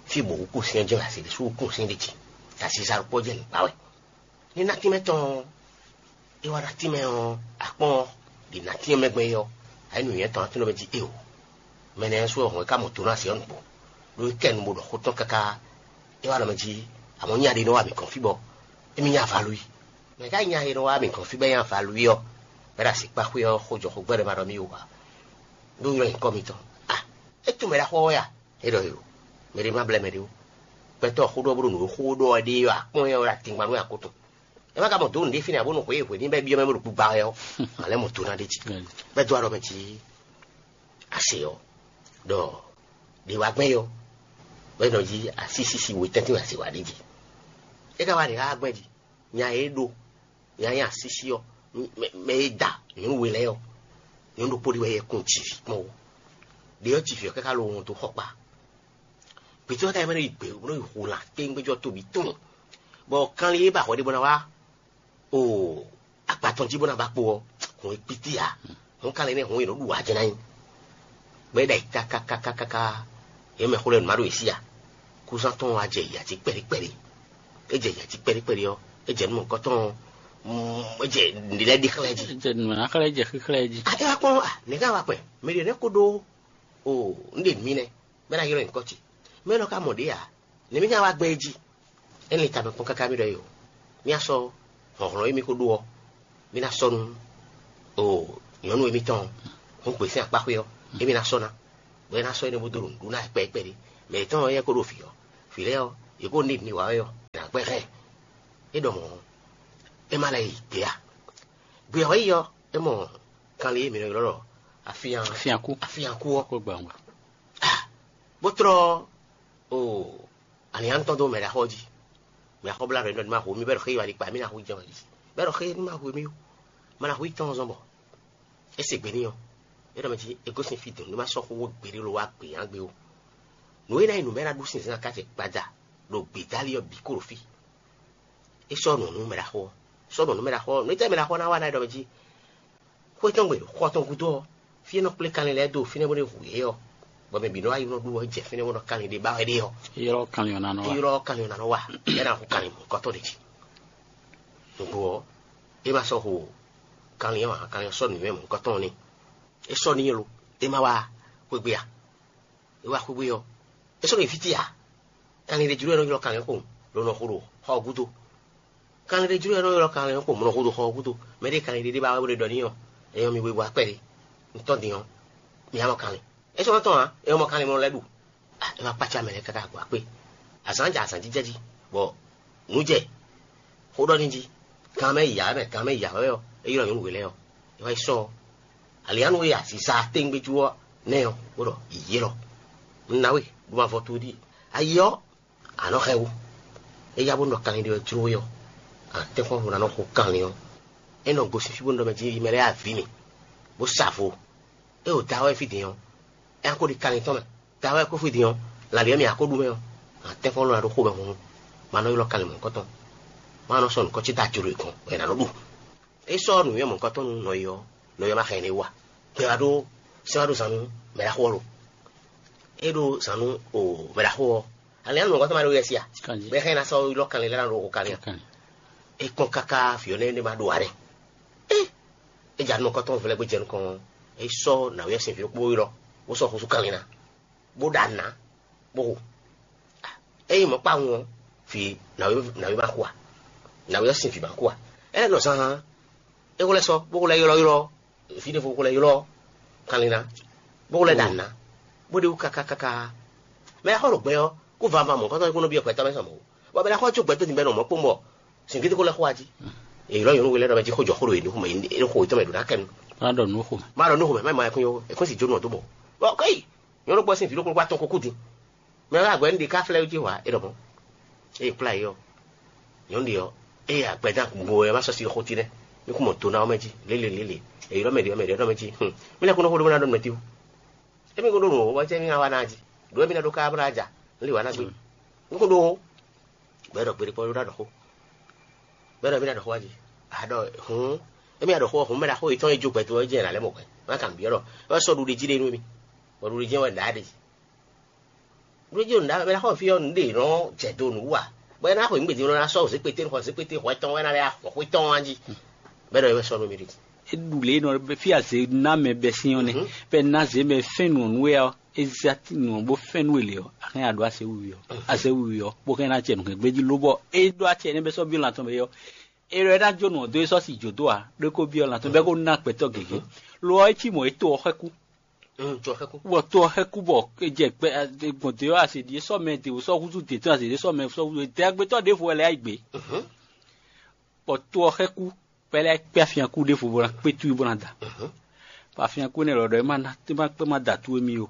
fí bɔ wú gosín ɔ́ jɛ́n asi ɖésú wú gosín ɖi jí, asisa ɖokpó jɛ́n nǔ kpa wɛ. Ní ná tínmɛ tɔn ɔ́, é wá ná tínmɛ ɔ́, akpɔ́n ɔ́, ɖi ná tínmɛ mɛ gbɛn é ɔ́, ayǐ nǔnywɛ́ tɔn ná tínmɛ mɛ jí é o. Mɛ nɛ́ sú ɔ́ hɔn é ká mɔ do ná se ɔ́ nukpó, ɖó é kɛ nu bó ɖɔ xó tɔn káká. É wá ɖɔ mɛ jí, amɔ̌ nya ɖé nɔ wá mǐ gɔ́n fí bɔ émí nya avalu i. Mɛ ká nya e nɔ wá mǐ gɔ́n fí bɔ é nya avalu i ɔ́, bɔ é ɖo asi kpá xwé ɔ́, xó jɔ xó gbɛ́ ɖɔ ma ɖɔ mì wú ǎ. Ɖó nylɔ́ nyǐkɔ mitɔn. A, é tunwun mɛ ɖaxó ɔ́ wɛ a? É ɖɔ yo, mɛ ɖé má blɛ́ mɛ ɖé ó. Gbɛtɔ́ xó ɖɔ bó ɖo nǔ e xó ɖɔ ɔ́ ɖe ɔ́, akpɔ́n ɛ ɔ́ ɖo atingban nú akó tɔn. É má ka mɔ dǒ nǔɖé fínɛ́ abo nɔ xwě e hwě ní bɛ́ byɔ́ mɛ bó ɖo gbigba wɛ ɔ́, a lɛ́ mɔ do ná ɖ'é jí. Bɛ́ dó aɖɔ mɛ jí ase ɔ́, ɖɔ ɖě wá gbɛn yɔ, bɛ́ nɔ jí asísísí we tɛ́ntin wɛ ase wá ɖ'é jí. É ka wá ɖě xá gbɛn jí, nya e é ɖó, nya e nyí asísí ɔ́, mɛ e da nyɔ̌nu we lɛ́ɛ ɔ́, nyɔ̌nu ɖokpó ɖé wɛ yɛ kún jǐ ví kpɔ́n ó. Ɖě ɔ́ jǐ ví ɔ́ káká lo wɔn dó xɔ kpa. Gbětɔ́ ka yi mɛ nɔ yi gbě bó nɔ yi hu lan téŋgbéjɔ tóbí tɔn, bɔ kanlin e ba hwɛ ɖé bó ná wá o agba tɔn jí bó ná ba kpo ɔ́, hǔn e kpítí ǎ. Hǔn kanlin nɛ́ hǔn e nɔ ɖu ǎ jɛ́n ná nyí. Bɔ é ɖa yi kákákákáká, é mɛ xó lɛ́ɛ nǔ má ɖo yě sí ǎ. Kúzán tɔn wá jɛ yǎ jí kpɛɖé kpɛɖé. É jɛ yǎ jí kpɛɖé kpɛɖé ɔ́, é jɛ nú mɔ̌hunkɔtɔn, é jɛ nǔɖé lɛ́ɛ ɖi xlɛ́ jí. É jɛ nǔ ná xlɛ́ jɛ xíxlɛ́ jí. A é wá kpɔ́n a nɛ̌ ká wá kpɛn? Mɛ ɖě nɛ́ kó ɖó o un ɖe nǔ mì nɛ́, bɔ é ná ylɔ́ nyǐkɔ ce. Mɛ élɔ́ ka mɔ ɖě ǎ, nɛ̌ mì ná wá gbɛn é jí? É lin tamɛ kpɔ́n káká mì ɖɔ é o. Mì ná sɔ́ hlɔ̌nhlɔ́n e mì ko ɖó ɔ́, mì ná sɔ́ nú o nyɔ̌nu e mì tɔn ɔ́, hǔn gbe sín akpáxwé ɔ́, é mì ná sɔ́ ná, bɔ é ná sɔ́ énɛ́ bó dó ɖo nǔɖuɖu ná kpɛɖé kpɛɖé. Mɛ yětɔn ɔ́, éyɛ́ ko ɖo vǐ ɔ́, Vǐ lɛ́ɛ ɔ́, yě ko ní ní wǎ wɛ ɔ́, è nǎ gbɛ́ hɛn. É ɖɔ mɔ̌ ɔ́, é má lɛ́ yi gbě a? Gbě ɔ́ yi ɔ́, é mɔ kanlin e mǐ nɔ ylɔ́ ɖɔ afyán Afyánkú. Afyánkú ɔ́, Kó gbà wá. Bó tlɔ́ o alǐnnyánú tɔn dó mɛ ɖaxó ɔ́ jí. Mɛ ɖaxó blá ɖɔ ní ɖɔ ní ma hu mì bɛ́ ɖɔ xé yi wá ɖi kpa mì ná hu jɛ wá ɖi. Bɛ́ ɖɔ xé ní ma hu mì ó. Ma ná hu yi tɔn zɔn bɔ é se gbe n'i ɔ́, é ɖɔ mɛ jí é gosín fí dɔn ní ma sɔ́ xó wó gbeɖé ló wá gbě yán gbé ó. Nǔ e ná nyí nǔ mɛ ná ɖu sinzɛ́n aká ce kpaja ɖo gbědálí ɔ́ bǐ kó ɖo fí. É sɔ́ nǔ nú mɛ ɖaxó ɔ́. Sɔ́ nǔ nú mɛ ɖaxó ɔ́, nǔ e tɛ́ mɛ ɖaxó ɔ́ ná wa ná é ɖɔ mɛ jí xwé tɔn gbe xɔ tɔn gúdo ɔ́, fí e nɔ kplé kanlin lɛ́ɛ dó fínɛ́ bó nɔ́ hu yě ɔ́, bɔ mɛ bǐ nɔ wá yi nɔ ɖu ɔ́ jɛ fínɛ́ bó nɔ kanlin ɖé ba wɛ ɖe ɔ́, Ylɔ́ kanlin ɔ́ ná nɔ wá. Ylɔ́ kanlin ɔ́ ná nɔ wá, é ná hu kanlin mɔ̌hunkɔtɔn ɖě jí. Nǔgbó ɔ́, é ma sɔ́ hu kanlin ɔ́ ǎ, kanlin ɔ́ sɔ́ nǔnywɛ́ mɔ̌hunkɔtɔn ɔ́ n'i. É sɔ́ n'i lo, é ma wá xwé gbe a? É wá xwé gbe ɔ́, é sɔ́ ɖo fí ce ǎ. Kanlin ɖé jló wɛ nɔ ylɔ́ kanlin ɔ́ kpowun, ló nɔ xo ɖo xɔ ɔ́ gúdo. Kanlin ɖé jló wɛ nɔ ylɔ́ kanlin ɔ́ kpowun, bó nɔ xo ɖo xɔ ɔ́ gúdo. Mɛ ɖé kanlin ɖé ɖé ba wɛ bó ɖe ɖɔ n'i ɔ́, é nyɔ́ mi we bo akpɛ́ ɖé. Un tɔ́n din ɔ́, mi ǎ mɔ kanlin. É sɔ́ nɔ tɔn ǎ, é mɔ kanlin mɔ lɛ́ ɖu. Ah, é wá kpácá mɛ lɛ́ɛ káká gbɔ akpé. Azǎn jɛ azǎn jijɛ jí, bɔ nǔ jɛ xó ɖɔ n'i jí. Gan mɛ yi ǎ mɛ, gan mɛ yi ǎ wɛ ɔ́, é ylɔ́ nyɔ̌nu we lɛ́ɛ ɔ́, é wá yi sɔ́ ɔ́. Alǐannu e aziza tɛ́ngbéjú ɔ́ nɛ́ ɔ́, bó ɖɔ: Yě lɔ, un ná we, ɖó ma vɔ towe ɖíe. Ayi ɔ́, a nɔ xɛ wú. É yá bó nɔ kanlin ɖé wɛ jló we ɔ́, a tɛ́nkpɔ́n ɖo ná nɔ xo kanlin ɔ́. É nɔ gosín fí bó nɔ ɖɔ mɛ jí yi mɛ lɛ́ɛ avǐ mì, bó sa vo. É ɖo da wɛ fí din ɔ́, é ná ko ɖi kanlin tɔn mɛ. Da wɛ kó fí din ɔ́, lǎlǐ e mì a ko ɖu mɛ ɔ́, a tɛ́nkpɔ́n lɔ ná ɖó xomɛ hɔn, ma nɔ ylɔ́ kanlin mɔ̌hunkɔtɔn, ma nɔ sɔ́ nǔ kɔ ce da jǒ ɖo yě kɔn, bɔ è nǎ nɔ ɖu. É sɔ́ nǔnywɛ́ mɔ̌hunkɔtɔn nú nɔyɔ ɔ́, nɔyɔ ma xɛ nyɛ wú ǎ. Gbɛ wá ɖó sɛ́n wá ɖó zan nú mɛɖaxó ɔ́ lo. É ɖó zan nú o mɛɖaxó ɔ́, alɛ ɔ́ nú mɔ̌hunkɔtɔn ma ɖó yɛ sí a? Bɛ́ xɛ ná sɔ́ ylɔ́ kanlin lɛ́ɛ ná ɖo xo kanlin a? É kpɔ́n káká vǐ ɔ́ nɛ́ ma ɖo ǎ ɖɛ. É é ja nukɔntɔn vlɛ́ gbé jɛ nukɔn ɔ́, é sɔ́ nǎwe ɔ́ sín vǐ ɖokpó ylɔ́, bó sɔ́ xúsú kanlin ná, bó ɖa nǔ ná, bó hu. Ényí mɔ̌ kpawun ɔ́, vǐ nǎwe nǎwe ma xo a? Nǎwe ɔ́ sín vǐ ma xo a? É lɛ́ nɔ zán é xó lɛ́ sɔ́, bó xó lɛ́ ylɔ́ ylɔ́ fí ɖěvo, bó xó lɛ́ ylɔ́ kanlin ná, bó xó lɛ́ ɖa nǔ ná, bó ɖe wú káká káká. Mɛ e xɔ ɖo gbɛ ɔ́, kó vava mɔ̌hunkɔtɔn é kó nɔ byɔ́ gbɛtɔ́ mɛ sɔ mɔ̌ ó. Bɔ mɛ ná xɔ có gbɛtɔ́ din bɛ nɔ mɔ̌ kpɔ́n bɔ sǐngídi kó lɛ́ xo wá jí. Èyí lɔ nyɔ̌nu we lɛ́ɛ ɖɔ mɛ jí xó jɔ xó ɖo yě ɖó xo yě tɔn mɛ ɖo ná kɛ nu. Má ɖɔ nǔ xo mɛ. Má ɖɔ nǔ xo mɛ, má ma yɛ kún yó, è kún sì jó nú ɔ́ dó bɔ. Bɔ kɔ́yi, nyɔ̌nu gbɔ sín vǐ ɖokpó kpó atɔn ko kú din. Mɛ wá agbɛ̌ nú ɖe ká flɛ́ jí hwa é ɖɔ mɔ̌. Ée è kplá yě ɔ́, nyɔ̌nu ɖe ɔ́, ée agbɛdán gbo ɛ má sɔ́ sí xó ce nɛ́. Mí kún mɔ do ná ɔ́ mɛ jí, lélelélele. Èyí ɖɔ mɛ ɖě ɔ́, mɛ ɖě ɔ́ ɖɔ mɛ jí. Hǔn, mí lɛ́ kún nɔ xó ɖó bó ná ɖɔ nú mɛ tíwú. Émí kún ɖó nǔ wɔ̌ bɔ jɛ́ mí ná wá ná jí. Ɖǒ e mí ná ɖó ká bó ná ja, un lě wǎ ná gbé. Un kún ɖó ó. Bɔ é ɖɔ gbeɖé kpɔ́ ɖó ná ɖɔ xó. Bɔ é ɖɔ mí ná ɖɔ xó wá jí. A ɖɔ hǔn, émí ná ɖɔ xó ɔ́, hǔn mɛ ɖaxó yětɔn e jó gbɛdo ɔ́ jɛ è nǎ lɛ́ mɔ hwɛ. Má kan bǐ ɔ́ ɖɔ, é wɛ sɔ́ ɖuɖi jí ɖe nú émí. Bɔ ɖuɖi jí wɛ ɖǎ ɖe. Ɖuɖi jí ɖo nǔɖá mɛ ná xɔ fí ɔ́, nǔɖé nɔ jɛ do nǔ wú a? Bɔ é ná xɔ nǔgbèdí nɔ ná sɔ́ zěkpété nɔ xɔ zěkpété hwɛ tɔn wɛ ná lɛ́ xɔ xwé tɔn wá jí. Bɔ é ɖɔ é wɛ sɔ́ nú mì ɖe. É ɖu lě e nɔ fí azě ná mɛ bɛ́ sín ɔ́ nɛ́. Bɛ ná zě mɛ fɛ́n nǔ ɔ́ nú we ɔ́, é zé nǔ ɔ́ bó fɛ́n nú we lě ɔ́, a hɛn a ɖǒ azě wiwi ɔ́. Azě wiwi ɔ́, bó hɛn ná acɛ nǔhɛn gbéjí lóbɔ é ɖó acɛ énɛ́ bɛ́ sɔ́ byɔ́ lan tɔn mɛ ɔ́, é ɖɔ é ná jó nǔ ɔ́ dó é sɔ́ si jǒ dó ǎ, ɖó é kó byɔ́ lan tɔn bɛ́ kó ná gbɛtɔ́ gěgé. Lo ɔ́, é cí mɔ̌ é to ɔ́ xwɛ́ kú. Bɔ to ɔ́ xɛ́ kú bɔ é jɛ gbɛ gbɔn dě ɔ́ azě ɖíe sɔ́ mɛ dě sɔ́ húzú dě tɔn azě ɖíe sɔ́ mɛ sɔ́ húzú dě agbétɔ́ ɖěvo wɛ lɛ́ yá yi gbě. Bɔ to ɔ́ xɛ́ kú, bɔ é lɛ́ kpé afyakú ɖěvo bó ná kpé towe bó ná da. Bɔ afyakú énɛ́ lɔ ɖɔ é má ná é má kpé má da towe mì ó.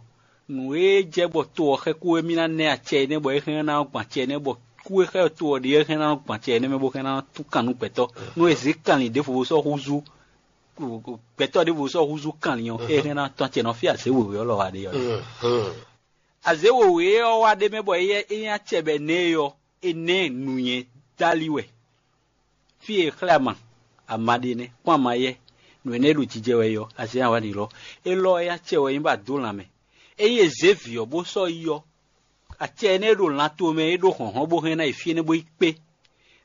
Nǔ e jɛ bɔ to ɔ́ xɛ́ kú émí ná nɛ́ acɛ énɛ́ bɔ é hɛn ná gbɔn acɛ énɛ́ bɔ kú e xɛ́ to ɔ́ ɖíe é hɛn ná gbɔn acɛ énɛ́ mɛ bó hɛn ná tún kan nú gbɛtɔ́. Nú è zě kanlin ɖěvo bó sɔ́ húzú gbɛtɔ́ ɖěvo sɔ́ húzú kanlin ɔ́, é hɛn ná tɔ́n acɛ nɔ fí azě wěwé ɔ́ lɔ wá ɖe ɔ́. Azě wěwé ɔ́ wá ɖ'é mɛ bɔ é nyí acɛ bɔ è nɛ́ ɛ ɔ́, è nɛ́ nǔnywɛ́ dali wɛ. Fí e è xlɛ́ ama, ama ɖe nɛ́, kpɔ́n ama yɛ́, nǔ énɛ́ e ɖo jijɛ wɛ é ɔ́, azě nya wá ɖi lɔ. Élɔ́ ɔ́, é nyí acɛ wɛ é nyí bɔ a dǒ lanmɛ. Ényí è zě vǐ ɔ́ bó sɔ́ yi ɔ́, acɛ énɛ́ e ɖo lan tomɛ e ɖó hlɔ̌nhlɔ́n bó hɛn ná yi fí énɛ́ bó yi kpé.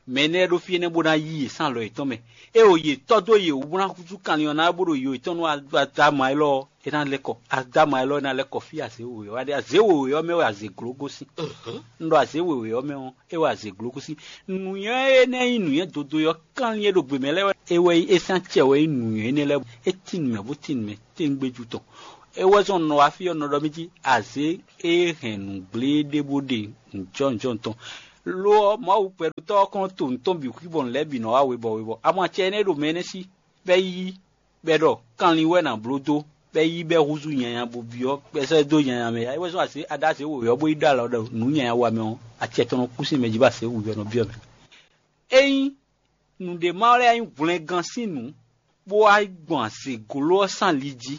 Mɛ énɛ́ lɛ́ɛ ɖó fí énɛ́ bó ná yí yě sín alɔ yětɔn mɛ. É o yě tɔ́ dó yě wú bó ná húzú kanlin ɔ́ ná bó ɖo yo yětɔn nú adama élɔ́ ɔ́, é ná lɛ́ kɔ. Adama élɔ́ ɔ́ ná lɛ́ kɔ fí azě wěwé ɔ́ wá ɖe. Azě wěwé ɔ́ mɛ wɛ azě gló gosín. Un ɖɔ azě wěwé ɔ́ mɛ ɔ́, é wɛ azě gló gosín. Nǔnywɛ́ énɛ́ nyí nǔnywɛ́ dodo e ɔ́, kanlin e ɖo gbě mɛ lɛ́ɛ wɛ é wɛ nyí é sín acɛ wɛ nyí nǔnywɛ́ énɛ́ lɛ́ɛ. É tín nǔ mɛ bó tín nǔ mɛ téŋgbéjú tɔn. É wɛ zɔn nɔ wá fí ɔ́ nɔ ɖɔ mì jí azě e hɛn nǔgblé ɖé bó ɖe nǔjɔnǔjɔn tɔn. Lo ɔ́, Mawu gbɛɖotɔ́ ɔ́ kɔn to nǔ tɔn bǐ xwí bɔ nǔ lɛ́ɛ bǐ nɔ wá webɔ webɔ. Amɔ acɛ énɛ́ ɖo mɛ énɛ́ sí, bɔ é yí, bɔ é ɖɔ kanlin wɛ è nǎ bló dó, bɔ é yí bɔ é húzú nyanya bo byɔ́, bɔ é sɔ́ ɛ dó nyanya mɛ. É wɛ zɔn azě aɖázě wǒyɔ́ bó yi ɖó alɔ ɖɔ nǔ nyanya wa mɛ ɔ́, acɛ tɔn nɔ kú sín mɛ jí bɔ azě wǔyɔ́ nɔ byɔ́ mɛ. Ényí nǔɖé ma lɛ́ nyí hwlɛngán sín nǔ, bó wá gbɔn azěgló ɔ́ sín ali jí,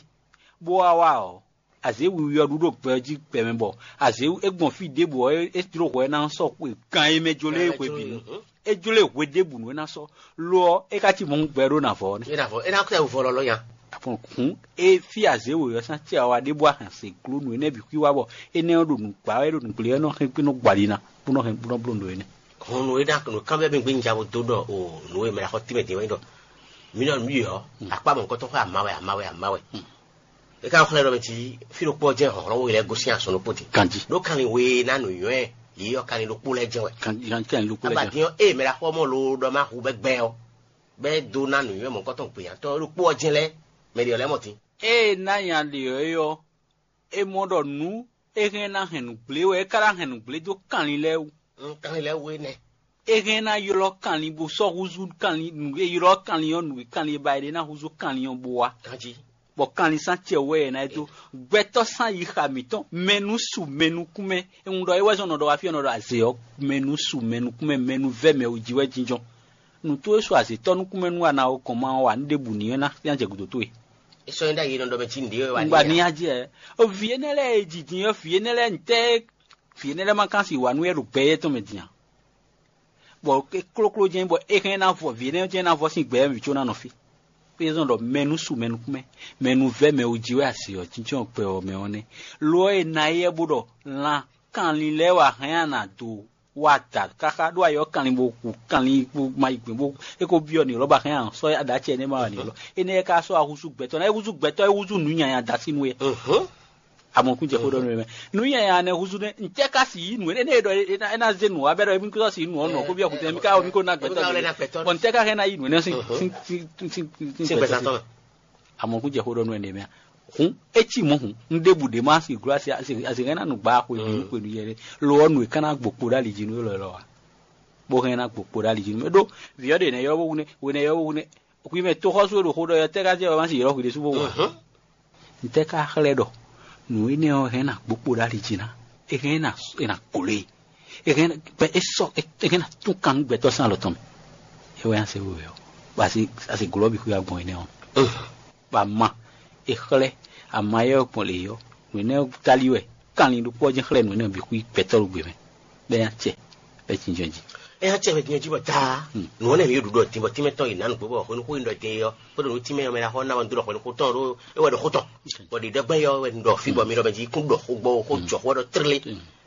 bó wá wá ɔ́, azě wiwi ɔ́ ɖu ɖo gbɛ ɔ́ jí gbɛ mɛ bɔ azě é gbɔn fí ɖěbǔ ɔ́, é jló hwɛ ná sɔ́ xwe gan e mɛ jló é hwebǐnu. É jló e hwe ɖěbǔnu é ná sɔ́. Lo ɔ́, é ka cí mɔ gbɛ ɖó nǎ vɔ ɔ́ nɛ́. É ná vɔ, é ná kó tɛ vɔ lɔlɔ́ nya. Àpɔn hǔn é fí azě wǒyɔ́ sín acɛ ɔ́ wá ɖěbǔ a hɛn se gló nǔ énɛ́ bǐ xwí wá bɔ énɛ́ ɔ́ ɖo nǔgbá wɛ ɖo nǔgbé ɔ́ nɔ hɛn kpé nɔ gbɔ ali ná, bó nɔ hɛn bó nɔ bló nǔ énɛ́. Hɔn nǔ e ná nǔ kanbyɔ́ mì gbé un ja bo dó ɖɔ o nǔ e mɛ ɖo axɔ tínmɛ din wɛ nyí ɖɔ mǐ nɔ nǔ yi ɔ́, akpá mɔ̌hunkɔtɔn xwé amawe amawe amawe. É ka xlɛ́ ɖɔ mɛ jí fí ɖokpó ɔ́ jɛ́n hlɔ̌nhlɔ́n we lɛ́ɛ gosín azɔn ɖokpó din. Ganjí. Ɖó kanlin we e ná nǔnywɛ́ yě ɔ́ kanlin ɖokpó lɛ́ɛ jɛ́n wɛ. Ganjí kanlin ɖokpó lɛ́ɛ jɛ́n. Abadín ɔ́, ée mɛ ɖo axɔ́ mɔ loo ɖɔ má hu bɛ́ gbɛ ɔ́, bɛ́ dó ná nǔnywɛ́ mɔ̌hunkɔtɔn gběnyátɔ́ ɖokpó ɔ́ jɛ́n lɛ́ɛ, mɛ ɖě ɔ́ lɛ́ɛ mɔ din. Ée é ná nya ɖě ɔ́ é ɔ́, é mɔ ɖɔ nǔ é hɛn ná hɛn nǔgblé wɛ é ka ná hɛn nǔgblé dó kanlin lɛ́ɛ wú. Kanlin lɛ́ɛ wú énɛ́. É hɛn ná ylɔ́ kanlin bó sɔ́ húzú kanlin nǔ e ylɔ́ kanlin ɔ́ nǔ e kanlin e ba è ɖe ná húzú kanlin ɔ́ bó wá. Ganjí. Bɔ kanlin sín acɛ wɛ è nǎ dó. Gbɛtɔ́ sín ayixa mǐtɔn mɛ nú su mɛ nukún mɛ. È ŋun ɖɔ é wɛ zɔn nɔ ɖɔ wá fí ɔ́ nɔ ɖɔ azě ɔ́, mɛ nú su mɛ nukún mɛ, mɛ nú vɛ́ mɛ wú jí wɛ jínjɔ́n. Nǔ towe su azětɔ́ nukún mɛ nú a na ɔ kɔn ma ɔ́ wa nú ɖěbǔ ní ɔ́ ná jɛ gǔdo towe. É sɔ́ nyí ɖ'ayǐ nɔ ɖɔ mɛ cí nǔɖé wɛ wá ní Un gba ní ya. Nya jɛ. Vǐ énɛ́ lɛ́ɛ e jǐjǐn ɔ́, vǐ énɛ́ lɛ́ɛ ntɛ́ vǐ énɛ́ lɛ́ɛ ma kán si wǎ nú é ɖo gbɛ éyɛ́ tɔn mɛ din a? Bɔ é klókló jɛ́n bɔ é hɛn ná vɔ vǐ énɛ́ jɛ́n ná vɔ sín gbɛ mǐ có ná nɔ fí. É zɔ́n ɖɔ mɛ nú su mɛ nukún mɛ, mɛ nú vɛ́ mɛ wú jí wɛ asi ɔ́ jínjɔ́n gbɛ ɔ́ mɛ ɔ́ nɛ́. Lo ɔ́, è nǎ éyɛ́ bó ɖɔ lan kanlin lɛ́ɛ wɛ a hɛn a nǎ dó wa da káká ɖó ayɔ kanlin bó hu kanlin bó ma yi gbɛn bó é ko byɔ́ ni lɔ́ ba hɛn a sɔ́ aɖa acɛ énɛ́ ma wa ni lɔ énɛ́ ka sɔ́ ahúzú gbɛtɔ́ ná é húzú gbɛtɔ́ é húzú nǔ nyanya da sín nú é. Amɔkun jɛ xó ɖɔ nú mɛ nǔ nyanya nɛ húzú nɛ ntɛ ka si yi nú énɛ́ ɖɔ é ná zé nǔ wa bɛ ɖɔ émi kó si yi nú ɔnɔ kó byɔ́ kutɛ mi ka mi kó ná gbɛtɔ́ bɔ ntɛ ka hɛn ná yi nú énɛ́ sín sín sín sín gbɛtɔ́ sín. Amɔkun jɛ xó ɖɔ nú ɛnɛ mɛ a hǔn é cí mɔ̌ hǔn un ɖěbǔ ɖě má si gló asi asi asi hɛn ná nǔgbá xwe nǔ xwe nǔ yɛ ɖé lo ɔ́ nǔ e ká ná gbo kpo ɖó ali jí nú élɔ́ élɔ́ a bó hɛn ná gbo kpo ɖó ali jí nú mɛ ɖó vǐ ɔ́ ɖe nɛ̌ ylɔ́ bó wú nɛ́ we nɛ̌ ylɔ́ bó wú nɛ́ hwi mɛ tóxɔ́sú e ɖo xó ɖɔ ɔ́ tɛ́ ká jɛ wɛ má si ylɔ́ hwi ɖésú bó wú a ntɛ́ ká xlɛ́ ɖɔ nǔ énɛ́ ɔ́ hɛn ná gbo kpo ɖó ali jí ná é hɛn ná é ná gló e é hɛn ná gbɛ é sɔ́ é hɛn ná tún kan nú gbɛtɔ́ sín alɔ tɔn mɛ é wɛ ná se wewɛ ɔ́ bɔ asi asi gló ɔ́ bǐ xwé agbɔn énɛ́ ɔ́ bɔ ama è xlɛ́ ama éyɛ́ ɔ́ gbɔn lě ɔ́ nǔ énɛ́ ɔ́ táli wɛ kanlin ɖokpó ɔ́ jɛ́n xlɛ́ nǔ énɛ́ ɔ́ bǐ xwí gbɛtɔ́ ɖo gbe mɛ bɔ é ná acɛ bɔ é jínjɔ́n jí. É ná acɛ mɛ din ɔ́ jí bɔ daa nǔ ɔ́ nɛ mǐ ɖo ɖuɖɔ din bɔ tínmɛ tɔn yi nǎ nǔgbó bɔ hwenu xó yi ɖɔ din é ɔ́ kpódò nú tínmɛ ɔ́ mɛ ná xɔ ná wɛ un dó ɖɔ hwenu xó tɔn ɖó é wɛ ɖɔ xó tɔn bɔ ɖiɖɔgbɛ́n yɔ wɛ un ɖɔ fí bɔ mi ɖɔ mɛ jí kún ɖɔ xó gbɔ xó jɔ xó ɖɔ tlé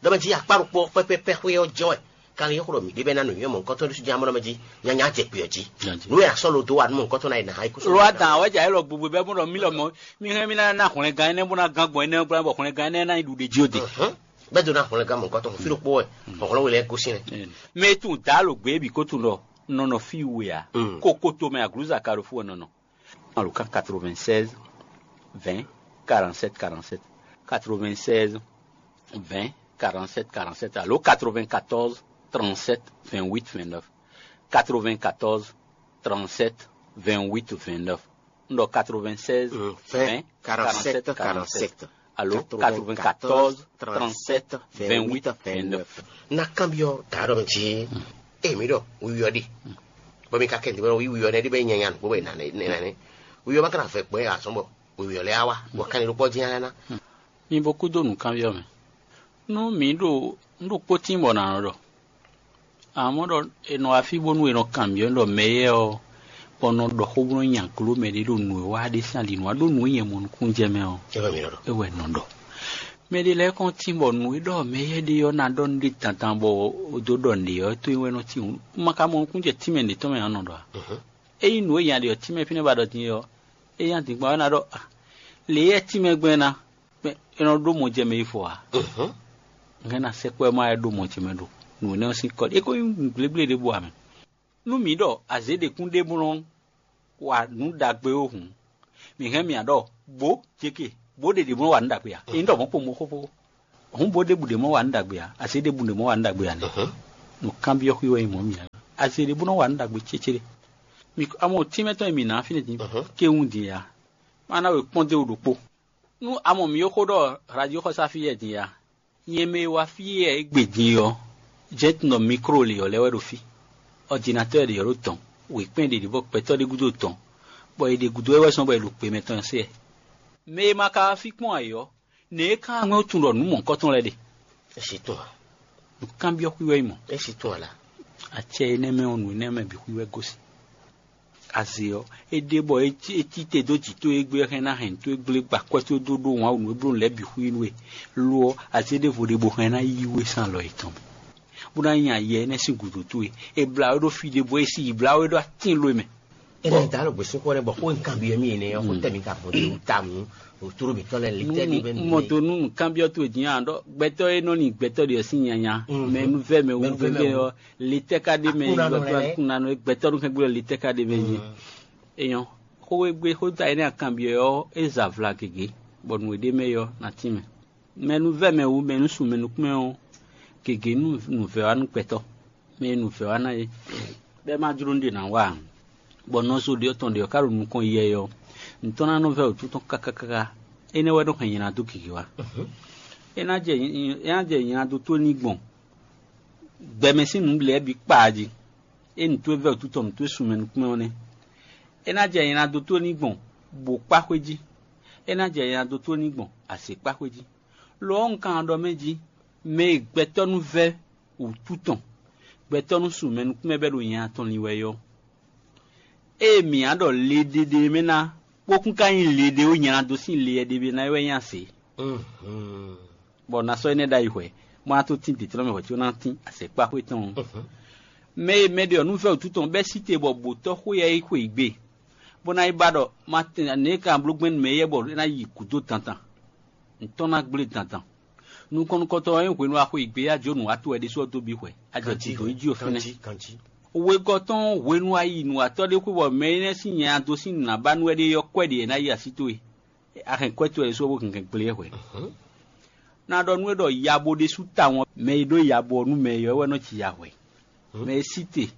ɖɔ mɛ jí akpá ɖokpó pɛpɛpɛ xwé ɔ́ jɛ wɛ kanlin yɔ́ xó ɖɔ mǐ ɖe bɛ́ ná nǔnywɛ́ mɔ̌hunkɔtɔn ɖésú jí amɔ́ mɛ jí nyanya jɛ kpe ɔ́ jí nǔ e a sɔ́ lo dó wa nú mɔ̌hunkɔtɔn ná yi nǎ ha yi kú sɔ́ lo adan awɛ jɛ ayé lɔ gbogbo bɛ́ bó ɖɔ mí lɔ mɔ mí hɛn mí ná ná hwlɛngán énɛ́ bó ná gán gbɔn énɛ́ gbla bɔ hwlɛngán énɛ́ ná yi ɖuɖe jí ó de. Bɛ́ dó ná hwlɛngán mɔ̌hunkɔtɔn fí ɖokpó wɛ hlɔ̌nhlɔ́n we lɛ́ɛ gosín rɛ. Mɛ tún dá lo gbě bǐ kó tún ɖɔ nɔ nɔ fí we ǎ kókó tomɛ aglǔza ka ɖo fú wɛ nɔ nɔ. Alo kan quatre-vingt-seize vingt quarante-sept quarante-sept quatre-vingt-seize vingt quarante-sept quarante-sept alo quatre-vingt-quatorze trente-sept vingt-huit vingt-neuf quatre-vingt-quatorze trente-sept vingt-huit vingt-neuf un ɖɔ quatre-vingt-seize vingt quarante-sept quarante-sept alo quatre-vingt-quatorze trente-sept vingt-huit vingt-neuf. Na kanbyɔ ta ɖɔ mɛ jí e mi ɖɔ wuyɔ ɖi bɔ mi ka kɛ ntɛ bɔ wuyɔ nɛ ɖi bɛ nyanya nukpo bɛ nane nane wuyɔ ma kana fɛ gbɛ azɔn bɔ wuyɔ lɛ awa bɔ kan ni ɖokpɔ jí ana. Mi bo kúdó nǔkanbyɔ́ mɛ. Nú mǐ ɖo nǔɖokpó tín bɔ nǎ nɔ ɖɔ, amɔ̌ ɖɔ è nɔ wá fí bónú è nɔ kanbyɔ́ ɖɔ mɛ éyɛ́ ɔ́, bɔ nɔ ɖɔ xó bó nɔ́ nya gló mɛ ɖé ɖo nǔ e wa ɖe sín ali nǔ wá ɖó nǔ e nyɛ mɔ nukúnnú jɛ mɛ ɔ́, é wɛ nɔ ɖɔ. Mɛ ɖé lɛ́ɛ kɔn tín bɔ nǔ e ɖɔ mɛ éyɛ́ ɖe ɔ́ ná ɖɔ nú ɖé dandan bɔ è dó ɖɔ nǔɖé ɔ́, é tó nyí wɛ nɔ tín hǔn. Un ma ka mɔ nukúnnú jɛ tínmɛ ɖě tɔn mɛ ǎ nɔ ɖɔ ǎ. Ényí nǔ e nya ɖe ɔ́ tínmɛ fínɛ́ ba ɖɔ din é ɔ́, é nya din gbɔn ɔ́ é ná ɖɔ a lě yɛ tínmɛ gbɛn ná. Mɛ è nɔ ɖó mɔ jɛ mɛ yi fɔ ǎ. Hɛn ná sɛkpɔ́ ɛ má wɛ ɖó mɔ jɛ mɛ ɖo nǔ énɛ́ ɔ́ sín kɔ é ko nyí nǔgblégbléɖěbǔ ǎ mɛ. Nú mǐ ɖɔ azě ɖě kún ɖe bó nɔ́ wa nǔ ɖagbe ó hǔn, mǐ hɛn mì ǎ ɖɔ bǒ céke bó ɖe ɖě bó nɔ́ wa nǔ ɖagbe ǎ. Ényí ɖɔ mɔ̌ kpo mɔ̌ xóxó, hǔn bó ɖěbǔ ɖě mɔ́ wa nǔ ɖagbe ǎ, azě ɖěbǔ ɖě mɔ́ wa nǔ ɖagbe ǎ nɛ́. Nǔkanbyɔ́ xwí wɛ nyí mɔ̌ mǐ ǎ. Azě ɖě bó nɔ́ wa nǔ ɖagbe cécéɖé. Mi amɔ tínmɛ tɔn e mǐ ná fínɛ́ din kéwún din ǎ. Má ná we kpɔ́n dó wú ɖokpó. Nú amɔ mǐ ó xó ɖɔ radio xɔsá fí yɛ din ǎ. Nyɛ mɛ e wá fí yɛ é gbe din ɔ́, jɛ́n tun ɖɔ mikro lě ɔ́ lɛ́ wɛ ɖo fí. Ɔdinatɔ́ɔ ɖě ɔ́ ɖo tɔn, wěkpɛ́n ɖě ɖě bɔ gbɛtɔ́ ɖé gúdo tɔn, bɔ è ɖe gǔdo wɛ wɛ zɔ́n bɔ è ɖo gbe mɛtɔn ɔ́ se. Mɛ e ma ka wá fí kpɔ́n ǎ é ɔ́, nɛ̌ é ka wá ŋwɛ́ tunwun ɖɔ nǔ mɔ̌hunkɔtɔn lɛ́ɛ ɖe? É sí tɔn ǎ. Nǔkanbyɔ́ xwí wɛ nyí mɔ̌. É sí tɔn ǎ la. Acɛ énɛ́ mɛ ɔ́, nǔ énɛ́ mɛ bǐ xwí wɛ gosín. Azě ɔ́, é ɖe bɔ é cí te dó jǐ towe gbe ɔ́ hɛn ná hɛn towe gblé gba akwɛ́ towe dó ɖó wǎn nǔ e bló nǔ lɛ́ɛ bǐ xwí nú we. Lo ɔ́, azě ɖěvo ɖe bó hɛn ná yí we sín alɔ yětɔn mɛ, bó ná nya yɛ énɛ́ sín gǔdo towe. È blǎ we ɖó fí ɖěvo, è si yi blǎ we ɖó atín lo e mɛ. Énɛ́ da ɖo gběsúkɔ lɛ́ɛ bɔ xó e un kanbyɔ́ mì énɛ́ ɔ́, xó tɛ́ mì ka gbɔn dó wú ta mǔ ɖo tló mǐtɔn lɛ́ɛ lě tɛ́ ɖé mɛ. Mɔ dó nú nǔkanbyɔ́ towe din ǎ ɖɔ gbɛtɔ́ e nɔ nyi gbɛtɔ́ ɖe ɔ́ sín nyanya, mɛ e nu vɛ́ mɛ wú Mɛ e nu vɛ́ mɛ wú. Lě tɛ́ ka ɖ'é mɛ? Aklúnɔ nɔ lɛ́ɛ. Aklúnɔ nɔ gbɛtɔ́ nú kɛ́n gbé lě tɛ́ ka ɖ'é mɛ jí? Enyɔ́, xó e gbé xó ta énɛ́ akanbyɔ́ ɔ́, é za vla gěgé, bɔ nǔ e ɖ'é mɛ é ɔ́ ná tín mɛ. Mɛ e nu vɛ́ mɛ wú, mɛ e nu sun mɛ nukún mɛ ɔ́, gěgé nú nǔvɛ́ wá nú gbɛtɔ́, mɛ e nǔvɛ́ wá ná é, bɔ é ma jló nú ɖě ná wa ǎ, bɔ nɔzo ɖě ɔ́ tɔn ɖě ɔ́ ka ɖo nukɔn yɛ ɔ́, nǔ tɔn ná nɔ vɛ́ wǔtu tɔn káká káká. Énɛ́ wɛ nɔ hɛn nylá dó gěgé wá. É ná jɛ é ná jɛ nylá dó tó ní gbɔn gbɛmɛ sín nǔ lɛ́ɛ bǐ kpaa jí. É nǔ towe vɛ́ wǔtu tɔn nǔ towe sun mɛ nukún mɛ ɔ́ nɛ́. É ná jɛ nylá dó tó ní gbɔn bǒ kpá xwé jí. É ná jɛ nylá dó tó ní gbɔn azě kpá xwé jí. Lo ɔ́, un ka ɖɔ mɛ jí, mɛ e gbɛtɔ́ nú vɛ́ wǔtu tɔn, gbɛtɔ́ nú sun mɛ nukún mɛ bɛ́ ɖo nya tɔn lin wɛ é ɔ́, ée mǐ ná ɖɔ le ɖé ɖé mɛ ná, bó kún ka nyí le ɖé ó nylá dó sín le ɖé ná é wɛ nyí azě. Bɔ ná sɔ́ énɛ́ ɖ'ayǐ hwɛ̌, bó ná tó tín dǐtlɔ́ mɛ hwɛ̌ có ná tín azɛ̌kpáxwé tɔn ɔ́. Mɛ e mɛ ɖe ɔ́ nú vɛ́ wǔtu tɔn bɛ́ sí te bɔ bǒtɔ́ xwé yɛ yi xwe yi gbe, bó ná yi ba ɖɔ ma tɛn nɛ̌ ka bló gbɛn nú mɛ éyɛ́ bɔ é ná yi gǔdo dandan, ntɔ́ ná gblé dandan. Nukɔn nukɔntɔn ɔ́ nyí hwenu e a xwe yi gbe yá jó nǔ wá towe ɖésú ɔ́ dó bǐ hwɛ̌, a jɛ gǔdo yi jí o fínɛ́. Wegɔ́ tɔn hwenu a yi nǔwatɔ́ ɖé xwé bɔ mɛ énɛ́ sín nya dó sín nǔ ná ba nú wɛ ɖe ɔ́ kwɛ ɖe è nǎ yi así towe. A hɛn kwɛ́ towe ɖésú ɔ́ bó hɛn hɛn gblé ɛ hwɛ̌. Ná ɖɔ nú we ɖɔ yabo ɖésú tawun ɔ́, mɛ e ɖó yabo ɔ́ nú mɛ e ɔ́ wɛ nɔ ji ya hwɛ̌. Mɛ e sí te,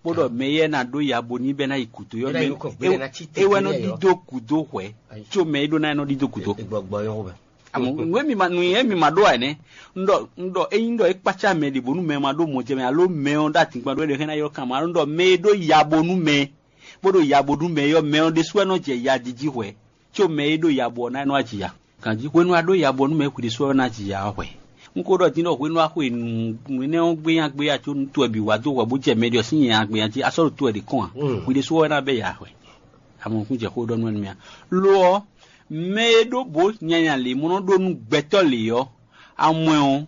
bó ɖɔ mɛ éyɛ́ ná ɖó yabo n'i bɛ́ ná yi gǔdo ɔ́, Bɛ́ ná yi nukɔn gbe, bɛ́ ná cí te é wɛ nɔ gbe lɛ́ɛ ɔ́. Dídó gǔdo hwɛ̌, Ayi. Có mɛ e ɖó ná é nɔ dídó gǔdo. Gbɔgbɔ yɔn wɛ. Àmọ́ nú émi ma nú émi ma ɖó ǎ nɛ́, un ɖɔ un ɖɔ ényí ɖɔ é kpácá mɛ ɖě bónú mɛ ma ɖó mɔjɛmɛ alo mɛ ɔ́ ɖó atǐngban ɖó é ɖe xɛ́ ná ylɔ́ kan ma ɖɔ un ɖɔ mɛ e ɖó yabo nú mɛ, bó ɖo yabo nú mɛ é ɔ́, mɛ ɔ́ ɖésú wɛ nɔ jɛ ya jiji hwɛ̌, có mɛ e ɖó yabo ɔ́ ná é nɔ wá ji ya. Ganjí hwenu a ɖó yabo nú mɛ é hwi ɖésú wɛ ná ji ya ɔ́ hwɛ̌. Un ko ɖɔ din ɖɔ hwenu a xwe nǔ énɛ́ ɔ́ gbénya gbénya có nú towe bǐ wá dó hwɛ bó jɛ mɛ ɖě ɔ́ sín nyanya gbénya jí, a sɔ́ ɖo towe ɖě kɔn ǎ. Hwi ɖésú wɛ ná bɛ́ ya hwɛ̌. Amɔkún jɛ xó ɖɔ nú wɛ nú mì a? Lo ɔ́, mɛ e ɖó bǒ nyanya lě mɔ nɔ ɖó nú gbɛtɔ́ lě ɔ́, amwɛ ɔ́,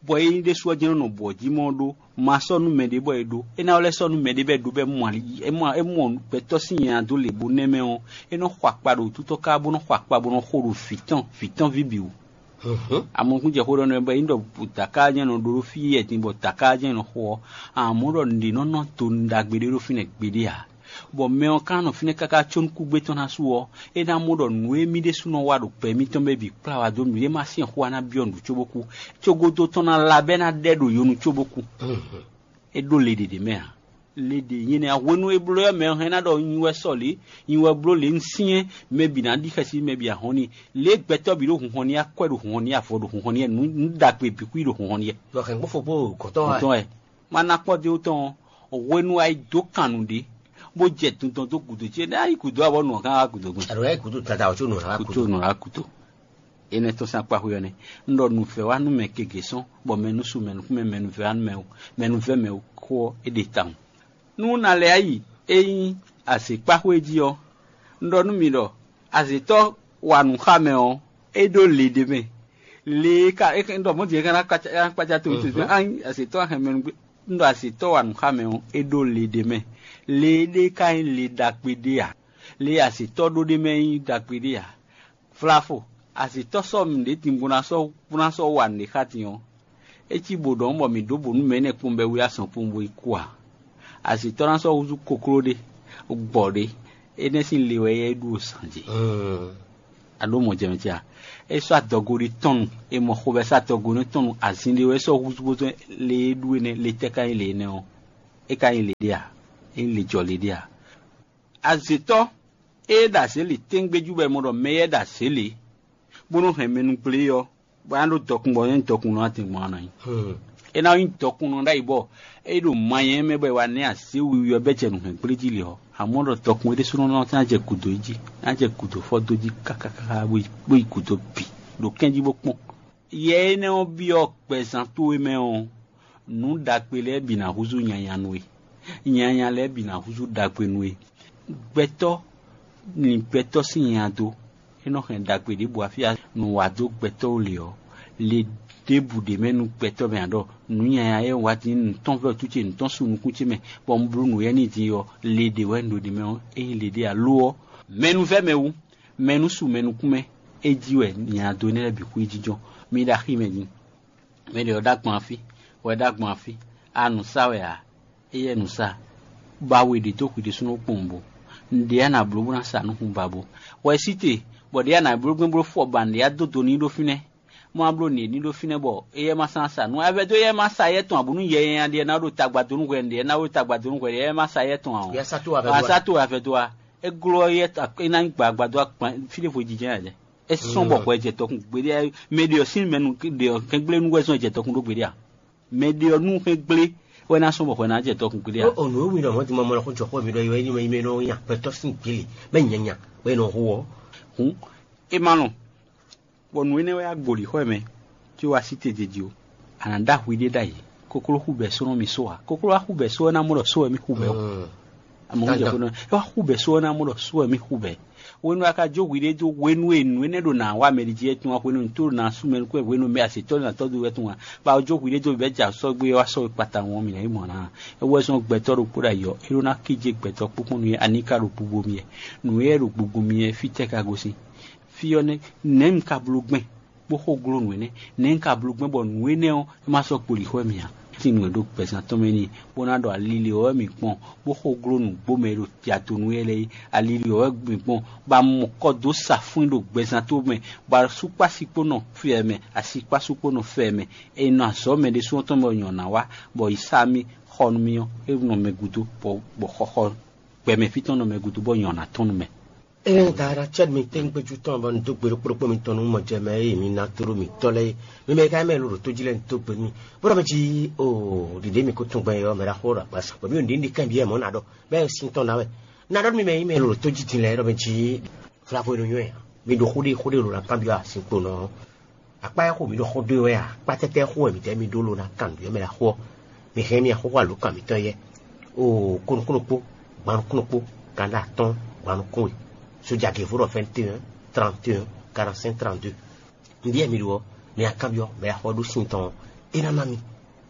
bɔ é nyí ɖésú ɔ́ jɛ́n nɔ nɔ bɔ jí mɔ ɖó ma sɔ́ nú mɛɖé bɔ é ɖó. É ná lɛ́ sɔ́ nú mɛɖé bɔ é ɖó bɔ é mɔ ali é mɔ é mɔ gbɛtɔ́ sín nya dó lě bó nɛ́ mɛ ɔ́, é nɔ xɔ akpa ɖo wútútɔ́ ká bó nɔ xɔ akpa bó nɔ xo ɖo vǐ tɔn vǐ tɔn ví bǐ wú. Amɔkún jɛ xó ɖɔ nɛ bɔ é nyí ɖɔ dǎká jɛ́n nɔ ɖó fí yɛ din bɔ dǎká jɛ́n nɔ xo ɔ́, amɔ̌ ɖɔ nǔɖé nɔ nɔ to nǔ ɖagbe ɖé ɖó fínɛ́ gbeɖé ǎ. Bɔ mɛ ɔ́ ka nɔ fínɛ́ káká có nú kúgbé tɔn ná su ɔ́, é ná mɔ ɖɔ nǔ e mì ɖésúnɔ wa ɖo gbɛ mitɔn mɛ bǐ kplá wá dó mǐ ɖé ma syɛ́n xó ná byɔ́ nǔ cóbó kú, có gúdo tɔn ná lá bɔ é ná ɖɛ ɖo yonu cóbó kú. É ɖó le ɖě ɖě mɛ ǎ. Le ɖě nyí nɛ́ hwenu e bló ɔ́ mɛ ɔ́ hɛn ná ɖɔ nyi wɛ sɔ lě, nyi wɛ bló lě un syɛ́n mɛ bǐ ná ɖi xɛsi mɛ bǐ ahɔn n'i. Lě e gbɛtɔ́ bǐ ɖo hunhɔn n'i akwɛ́ ɖo hunhɔn n'i avɔ ɖo hunhɔn n'i nǔ ɖagbe bǐ kú ɖo hunhɔn n'i. Lɔ hɛn gbófo kpó gɔ̌tɔn wɛ. Gɔ̌tɔn wɛ. Ma ná kpɔ́ dó tɔn ɔ́, hwenu a yi dó kan nǔɖé, bó jɛ dundɔn dó gǔdo ce, ná yi gǔdo abɔ nǔ ɔ́ gán wá gǔdo gbɔn. Àlọ́ yá gǔdo dada ɔ̀tún nù rà Kuto gúdo. Nǔ rá kuto. Énɛ́ tɔ́n sín akpá xwé ɔ́ nɛ́. Un ɖɔ nǔfɛ́ wá nú mɛ gěgé sɔ́n, bɔ mɛ nú su mɛ nukún mɛ, mɛ nú vɛ́ wá nú mɛ wú, mɛ nú vɛ́ mɛ wú xó ɔ́, é ɖe tawun. Nú un ná lɛ́ yi é nyí azěkpáxwé jí ɔ́, un ɖɔ nú mi ɖɔ azětɔ́ wa nǔ xá mɛ ɔ́, é ɖó le ɖé mɛ. Le e ka é ɖɔ mɔ̌ din é ka ná kpácá ná kpácá to wútu ná azětɔ́ axɛmɛnugbé. Un ɖɔ azětɔ́ wa nǔ xá mɛ ɔ́, é ɖó le ɖé mɛ. Le éɖée ka nyí le ɖagbe ɖé ǎ. Le e azětɔ́ ɖó ɖ'é mɛ é nyí ɖagbe ɖé ǎ. Vlafo, azǐtɔ́ sɔ́ nǔɖé din bó ná sɔ́ bó ná sɔ́ wa nǔɖé xá din ɔ́, é cí bǒ ɖɔhun bɔ mǐ ɖó bǒ nú mɛ énɛ́ kpowun bɔ é wlí azɔn kpowun bó yi kú ǎ. Azǐtɔ́ ná sɔ́ húzú kokló ɖé, gbɔ̌ ɖé, énɛ́ sín le wɛ é ɖu o zǎn jí. A ɖó mɔjɛmɛ ce a? É sɔ́ adɔgo ɖé tɔn nu, è mɔ xovɛ́ sɔ́ adɔgo ɖé tɔn nu, azin ɖé wɛ é sɔ́ húzú bó zɔ́n le e ɖu énɛ́, le tɛ́ ka nyí le énɛ́ ɔ́? É ka nyí le ɖé a? É nyí le jɔ le ɖé a? Azětɔ́ e ɖo azě lě tɛ́ngbéjú bɔ è mɔ ɖɔ mɛ éyɛ́ ɖo azě lě, bó nɔ́ hɛn mɛ nú gblé ɔ́, bɔ é ná ɖó dɔkun bɔ é nyí dɔkun nɔ adin gbɔn a nɔ nyi. É ná nyí dɔkunnɔ ɖ'ayǐ bɔ é ɖo manyɛ mɛ bɔ è wǎ nɛ́ azě wiwi ɔ́ bɛ́ jɛ nǔhɛngblé jí lě ɔ́, amɔ̌ ɖɔ dɔkun é ɖésúnɔ ná jɛ gǔdo yi jí, ná jɛ gǔdo fɔ́ dó jí kákákáká bó yi bó yi gǔdo bǐ ɖo kɛ́n jí bó kpɔ́n. Yɛ énɛ́ ɔ́ byɔ́ gbɛzán towe mɛ ɔ́, nǔ ɖagbe lɛ́ɛ bǐ ná húzú nyanya nú we; nyanya lɛ́ɛ bǐ ná húzú ɖagbe nú we. Gbɛtɔ́ lin gbɛtɔ́ sín nya dó; é nɔ hɛn ɖagbe ɖěbǔ afí nǔ wa dó gbɛtɔ́ ó lě ɔ́, le ɖěbǔ ɖ'é mɛ nú gbɛtɔ́ mɛ ǎ ɖɔ nǔ nyanya e un wa din nǔ tɔn vɛ́ wútu ce nǔ tɔn su nukún ce mɛ, bɔ un bló nǔ éyɛ́ n'i din ɔ́, le ɖě wɛ un ɖo ɖ'é mɛ ɔ́, é nyí le ɖé ǎ. Lo ɔ́, mɛ nú vɛ́ mɛ wú, mɛ nú su mɛ nukún mɛ, é jí wɛ nya dó énɛ́ lɛ́ɛ bǐ xwíjínjɔ́n. Mi ɖo axi mɛ din. Mɛ ɖě ɔ́ ɖó agban fí, wɛ ɖó agban fí, a nǔ sa wɛ ǎ, éyɛ́ nǔ sa, ba we ɖě dó hwi ɖésúnɔ kpowun bo. Nǔɖé a nǎ bló bó ná sa nú hun ba bo. Wɛ sí te, bɔ ɖě a nǎ bló gbɛ́ bló fɔ ba nǔɖé a dó do n'i ɖó fínɛ́. Má bló nǐ ní ɖó fínɛ́ bɔ éyɛ́ má sán sa nǔ. A vɛ́ dó éyɛ́ má sa yɛ́ tɔn ǎ, bónú yɛ nyanya ɖé ná ɖo tagba dó nú hwɛ, nǔɖé ná ɖo tagba dó nú hwɛ, éyɛ́ má sa yɛ́ tɔn ǎ ɔ́. Yɛ sá tó wɛ a vɛ́ dó a? Sá tó wɛ a vɛ́ dó a? É glɔ́ yɛ é ná nyí gbǎgbá dó akpan fí ɖěvo jijɛ ǎ jɛ. É sɔ́n bɔ hwɛ jɛ tɔkun gbeɖé ǎ. Mɛ ɖě ɔ́ sín mɛ nu ɖě ɔ́ hɛn gblé nú wɛ zɔn jɛ tɔkun ɖó gbeɖé ǎ. Mɛ ɖě ɔ́ nú hɛn gblé wɛ ná sɔ́n bɔ hwɛ ná jɛ tɔkun gbeɖé ǎ. Ó nǔ e wí ɖɔ mɔ̌ din mɔmɔ lɔ xó jɔ xó mi ɖɔ é wɛ nyí mɛ e nɔ nyi agbɛtɔ́ sín gbélé mɛ nyanya wɛ è nɔ hu ɔ́. Hǔn é ma lɔn, bɔ nǔ énɛ́ wɛ wá gbǒ lǐxɔ́ ɛ mɛ, có wá sí te jiji ó. A nǎ ɖó ahwi ɖé ɖ'ayǐ, kokló xú bɛ̌ só nɔ mì só ǎ. Kokló wá xú bɛ̌ só ɔ́ ná mɔ ɖɔ só wɛ mì xú bɛ̌ ó. Amɔ̌ jɛ xó nɔ é wá xú bɛ̌ só ɔ́ ná mɔ ɖɔ só wɛ mì xú bɛ̌. Hwenu a ka jó hwiɖée dó hwenu e nǔ énɛ́ ɖo nǎ wá mɛ ɖě jí wɛ tun wá hwenu tó ɖo nǎ sú mɛ nukún wɛ hwenu mɛ azětɔ́ ɖo nǎ tɔ́ dó wɛ tun wá. Ba ɔ́ jó hwiɖée dó bɛ̌ jɛ sɔ́ gbé wá sɔ́ we kpata wɔn mǐ ná yi mɔ ná. É wɛ zɔ́n gbɛtɔ́ ɖokpó ɖo ayǐ ɔ́, é ɖó ná kíjé gbɛtɔ́ kpókpó nú é aníka ɖo gbogbo mì wɛ. Nǔ e ɖo gbogbo mì wɛ fítɛ́ ka gosín? Fí ɔ́ nɛ́, nɛ̌ un ka bló gbɛn bó xo gló nǔ énɛ́? Nɛ̌ un ka bló gbɛn bɔ nǔ énɛ́ ɔ́ é ma sɔ́ kpo lǐxɔ mì ǎ? Sin nǔ e ɖo gbɛzán tɔn mɛ n'i, bó ná ɖɔ ali lě ɔ́ wɛ mǐ kpɔn, bó xo gló nǔgbó mɛ e ɖo jado nú éyɛ́ lɛ́ɛ é. Ali lě ɔ́ wɛ mǐ kpɔn, bɔ a mɔ kɔ dó sa fún ɖo gbɛzán tó mɛ, bɔ asúkpási kpó nɔ fɛ mɛ, asikpásu kpó nɔ fɛ mɛ. È nɔ azɔ̌ mɛ ɖésú tɔn mɛ nyɔ̌ ná wá, bɔ yi sá mì xɔ nú mì ɔ́, é nɔ mɛ gúdo, bɔ bɔ xɔxɔ gbɛmɛ fí tɔn nɔ mɛ gúdo, bɔ nyɔ̌ ná tɔn nú mɛ. Ée da ɖa cɛ́ mi tɛ́ngbɛ́jú tɔn bɔ un dó gbe ɖokpó ɖokpó mitɔn nú mɔjɛmɛ e mi ná tló mǐtɔn lɛ́ɛ é, mi mɛ e ka nyí mɛ e ɖo ɖǒ tó jí lɛ́ɛ un dó gbe n'i, bó ɖɔ mɛ jí o ɖiɖě mi ko tunwun gbɛn ɔ́, mɛ ɖaxó ɖo agbaza bɔ mí ɖo nǔɖé ní kanbyɔ́ ɛ mɔ̌ ná ɖɔ, bɛ́ sin tɔn ná wɛ. Ná ɖɔ nú mi mɛ e nyí mɛ e ɖo ɖǒ tó jí din lɛ́ɛ é ɖɔ mɛ jí flaxó e nɔ nywɛ́ ǎ. Mi ɖo xó ɖé xó ɖé ɖo ná kanbyɔ́ a sin kpo nɔ ɔ́. Akpá e xo mǐ ɖo xó dó e wɛ a? Akpá tɛ́tɛ́ xo wɛ mǐdɛɛ mì ɖó lo ná kan nǔ e mɛ ɖo axó ɔ́? Mi hɛn mì axɔ́xɔ alǒkan mǐtɔn yɛ. Oo, kó nukúnnú kpó, gban nukúnnú kpó, kanɖa atɔ́ɔ́n, gban nukún we. Sójà gěvo ɖɔ vingt et un, trente et un, quarante-cinq, trente-deux. Nǔɖé mi ɖo ɔ́, mi wá kanbyɔ́ mɛ e axɔ́ ɖó sin tɔn ɔ́, é ná ná mi.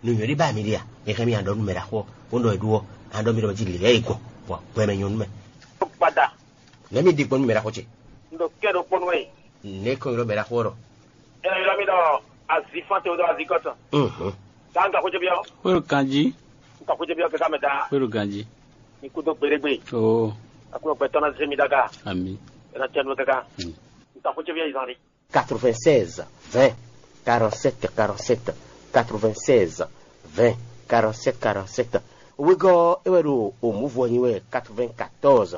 Nǔ nyɔ̌ɖé ba mi ɖe a? Mi hɛn mì aɖɔ nú mɛ ɖo axɔ́, bó nɔ e ɖó ɔ́, aɖɔ mi ɖɔ jí lě lɛ́ɛ yi gbɔn, bɔ gbɛ mɛ nyɔ́ nú mɛ. Gbada. Nɛ̌ mi ɖe gbɔn nú mɛ ɖo axɔ́ ce? Un ɖo kɛ́ ɖokpónú wɛ. Nɛ̌ kɔn ylɔ́ mɛ ɖo axɔ́ ɖɔ? Ɛ ylɔ́ mi ɖɔ azifán te ɖo azikɔtɔn. Mhm. Tá un ka xwé byɔ́? Xwé ɖo ganjí. Un ka xwé byɔ́ kɛká mɛ ta. Xwé ɖo ganjí. Mi kú dó gbeɖégbé. Oo. Akú gbɛtɔ́ ná zé mi ɖaga. Ami. Ɛ ná tɛnu kɛká. Un ka xwé byɔ́ izan ɖi. Quatre-vingt-seize, vingt, quarante-sept, quarante-sept, quatre-vingt-seize, vingt, quarante-sept, quarante-sept. Wegɔ́ é wɛ ɖo òmǔvɔ nyi wɛ quatre-vingt-quatorze,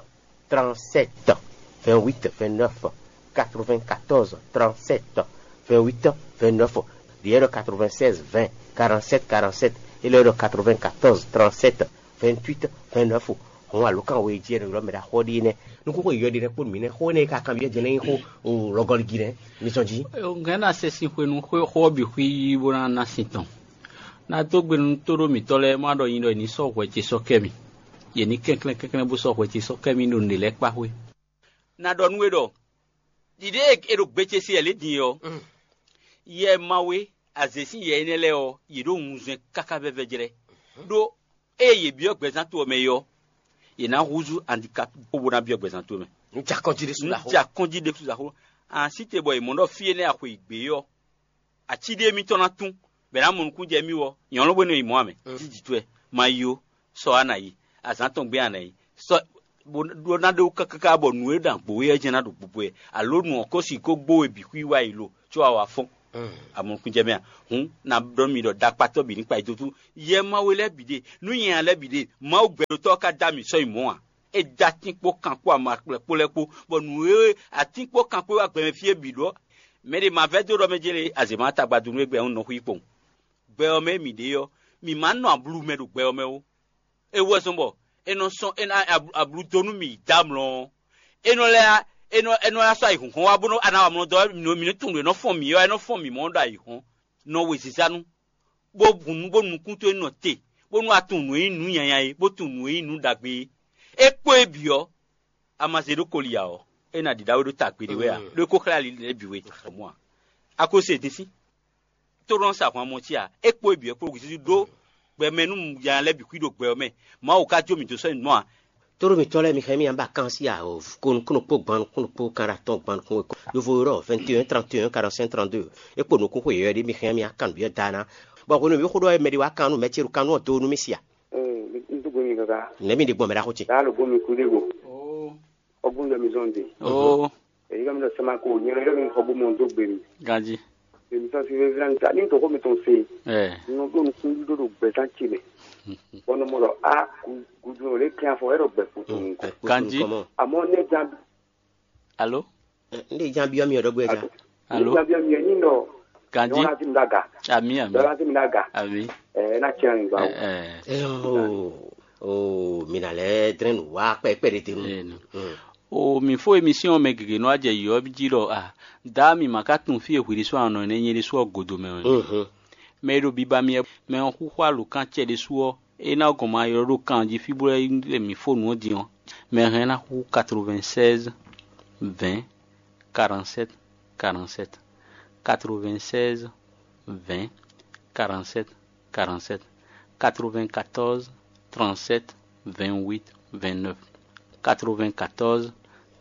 trente-sept, vingt-huit, vingt-neuf, quatre-vingt-quatorze, trente-sept, vingt-huit, vingt-neuf. Ɖi é ɖɔ quatre-vingt-seize, vingt, quarante-sept, quarante-sept. É lɛ́ ɖɔ quatre-vingt-quatorze, trente-sept, vingt-huit, vingt-neuf. Hɔn alǒkan we jí é nɔ ylɔ́ mɛ ɖo axɔ́ ɖi nɛ́. Nukúnxó yɔ̌yɔ́ ɖi nɛ́ kpó nǔ mǐnɛ́ xó énɛ́ e ka kanbyɔ́ jɛ lɛ́ɛ nyí xó lɔgɔligí nɛ́. Mi zɔn jí. Ŋgɛ̌ ná sɛ sin xwenu xó ɔ́ bǐ xwí bó ná ná sin tɔn. Ná dó gbe nú tóɖó mǐtɔn lɛ́ɛ má ɖɔ nyi ɖɔ è nǐ sɔ́ hwɛ ce sɔ́ kɛ mì. Yě ní kɛnklɛ́n kɛnklɛ́n bó sɔ́ hwɛ ce sɔ́ kɛ mì ɖo nǔɖé lɛ́ɛ kpá xwé. Na ɖɔ nú we ɖɔ ɖiɖée e ɖo gbe ce se wɛ lě din é ɔ́, yɛ Mawu e azě sín yɛ énɛ́ lɛ́ɛ ɔ́, yě ɖo wunzɛn káká vɛ́vɛ́ jlɛ́. Ɖó ée yě byɔ́ gbɛzán to ɔ́ mɛ é ɔ́, yě ná húzú andikapi xó bó ná byɔ́ gbɛzán to mɛ. Un jɛ akɔ́njí ɖésú Un jɛ akɔ́njí ɖésú zǎxó. Ansíte bɔ è mɔ ɖɔ fí énɛ́ a xwe yi gbě é ɔ́, ací ɖé mitɔn ná tún, bɔ è nǎ mɔ nukún jɛ mì wɔ, nyɔ̌nu bó nɔ yi mɔ̌ ǎ mɛ, jí jǐ towe, ma yi ó, sɔ á nǎ yi, azǎn tɔn gbé á nǎ yi, sɔ Bó ɖó ná ɖó káká bɔ nǔ e ɖo agbo wɛ ɔ́ jɛ́n ná ɖo gbogbo wɛ, alo nǔ ɔ́ ko sixú gbó we bǐ xwí wá yi lo, có a wá fɔ́n. Amɔnukúnjɛ mɛ a? Hǔn, ná ɖɔ mi ɖɔ ɖakpatɔ́ bǐ ní kpa yi dó tú. Yɛ Mawu lɛ́ɛ bǐ ɖe, nǔ nyanya lɛ́ɛ bǐ ɖe, Mawu gbɛɖotɔ́ ɔ́ ka dó ami sɔ́ yi mɔ̌ a? É dó atín kpó kan kpó amakplɛ kpó lɛ́ɛ kpó, bɔ nǔ e atín kpó kan kpó wá gbɛ mɛ fí é bǐ ɖɔ, mɛ ɖé ma vɛ́ dó ɖɔ mɛ jɛ́n lě azě ma tagbadunu e gbɛ ɔ́ nɔ xwí kpɔn. Gbɛ ɔ́ mɛ e mǐ ɖe ɔ́, mǐ ma nɔ ablu mɛ ɖo gbɛ ɔ́ mɛ ó. É wú wɛ zɔ́n bɔ è nɔ sɔn è nɔ ablu dó nú mǐ dó amlɔ ɔ́, è nɔ lɛ́ è nɔ è nɔ lɛ́ sɔ́ ayǐhɔ́ngɔ́n wá bónú a ná wa amlɔ dɔn ɔ́, mǐ nɔ mǐ nɔ tunwun nǔ e nɔ fɔ́n mǐ ɔ́, é nɔ fɔ́n mǐ mɔ̌ ɖo ayǐhɔ́n, nɔ wezizá nú, bó hun nǔ bó nukún towe nɔ te, bónú a tunwun nǔ e nyí nǔ nyanya é, bó tunwun nǔ e nyí nǔ ɖagbe é. É kpó é bǐ ɔ́, a ma zé ɖó koli ǎ ɔ́, é ná ɖiɖa we ɖó ta gbeɖé wɛ ǎ, ɖó é ko xlɛ́ ali lɛ́ɛ bǐ we mɔ̌ ǎ. A ko se din sín. Tó nɔ sa ahwan mɔ cí a? É kpó é bǐ wɛ kpó Jezu ɖó gbɛmɛ nú ya lɛ́ɛ bǐ xwí ɖo gbɛ ɔ́ mɛ. Mawu ka jó mì dó sɔ́ nyi nɔ a? Tóɖó mǐtɔn lɛ́ɛ, mi hɛn mì ǎ bɔ a kan sí a? Ko nukúnnú kpó gban nukúnnú kpó kan ɖo atɔn gban nukún wekɔ. Yovo ylɔ́ vingt et un trente et un quarante-cinq trente-deux. É kpo nǔkún xwe yɔ̌yɔ́ ɖé, mi hɛn mì a kan nǔbyɔ́ da ná. Bɔ hwenu mǐ xo ɖɔ wɛ mɛ ɖé wá kan nú mɛ ce ɖo kan nú ɔ́ do nú mì si a? Ee, n dúgbe mi kaka. Nɛ̌ mi ɖe gbɔn mɛ ɖaxó ce? Daa lo bó mi kú ɖé go. Ɔgbɔn ɖɔ mi zɔn de. Oo. Èyí ká mi ɖɔ sɛma ko nyɛ ɖɔ mi xɔ bó mɔ dó gbe mi. Ganji. Èmi sɔ si vevila nta ní tɔxɔ mi tɔn se. Ɛ. Nɔ ɖo nukún ɖo ɖo gbɛzán ce mɛ. Bɔn nɔ mɔ ɖɔ a gudu lɛ kí afɔ ɛrɔ gbɛ kpoto nukɔ. Ganji. Amɔ ne jan. Alo. N ɖe jan biɔ mi ɔdɔ gbɛ jan. Alo. Jan biɔ mi ni nɔ. Ganji. Nyɔna ti mi daga. Ami ami. Nyɔna ti mi daga. Ami. Ɛ na tiɲɛ ŋgba o. Ɛ. Ɛ o o mina lɛ drɛn nu wa kpɛkpɛ de te nu. O mǐ fó emisíɔn mɛ gěgé nɔ wá jɛ yɔ̌ jí ɖɔ a dǎ mǐ ma ka tunwun fí e hwi ɖésú anɔ nɛ́ nyɛ ɖésú ɔ́ godo mɛ wɛ. Mɛ e ɖo biba mì wɛ mɛ ɔ́ xúxú alǒkan cɛ ɖésú ɔ́, é ná gɔn ma ylɔ́ ɖó kan jí fí bó lɛ́ mǐ fó nǔ ɔ́ din ɔ́, mɛ hɛn ná xú quatre-vingt-seize vingt quarante-sept quarante-sept, quatre-vingt-seize vingt quarante-sept quarante-sept, quatre-vingt-quatorze trente-sept vingt-huit vingt-neuf, quatre-vingt-quatorze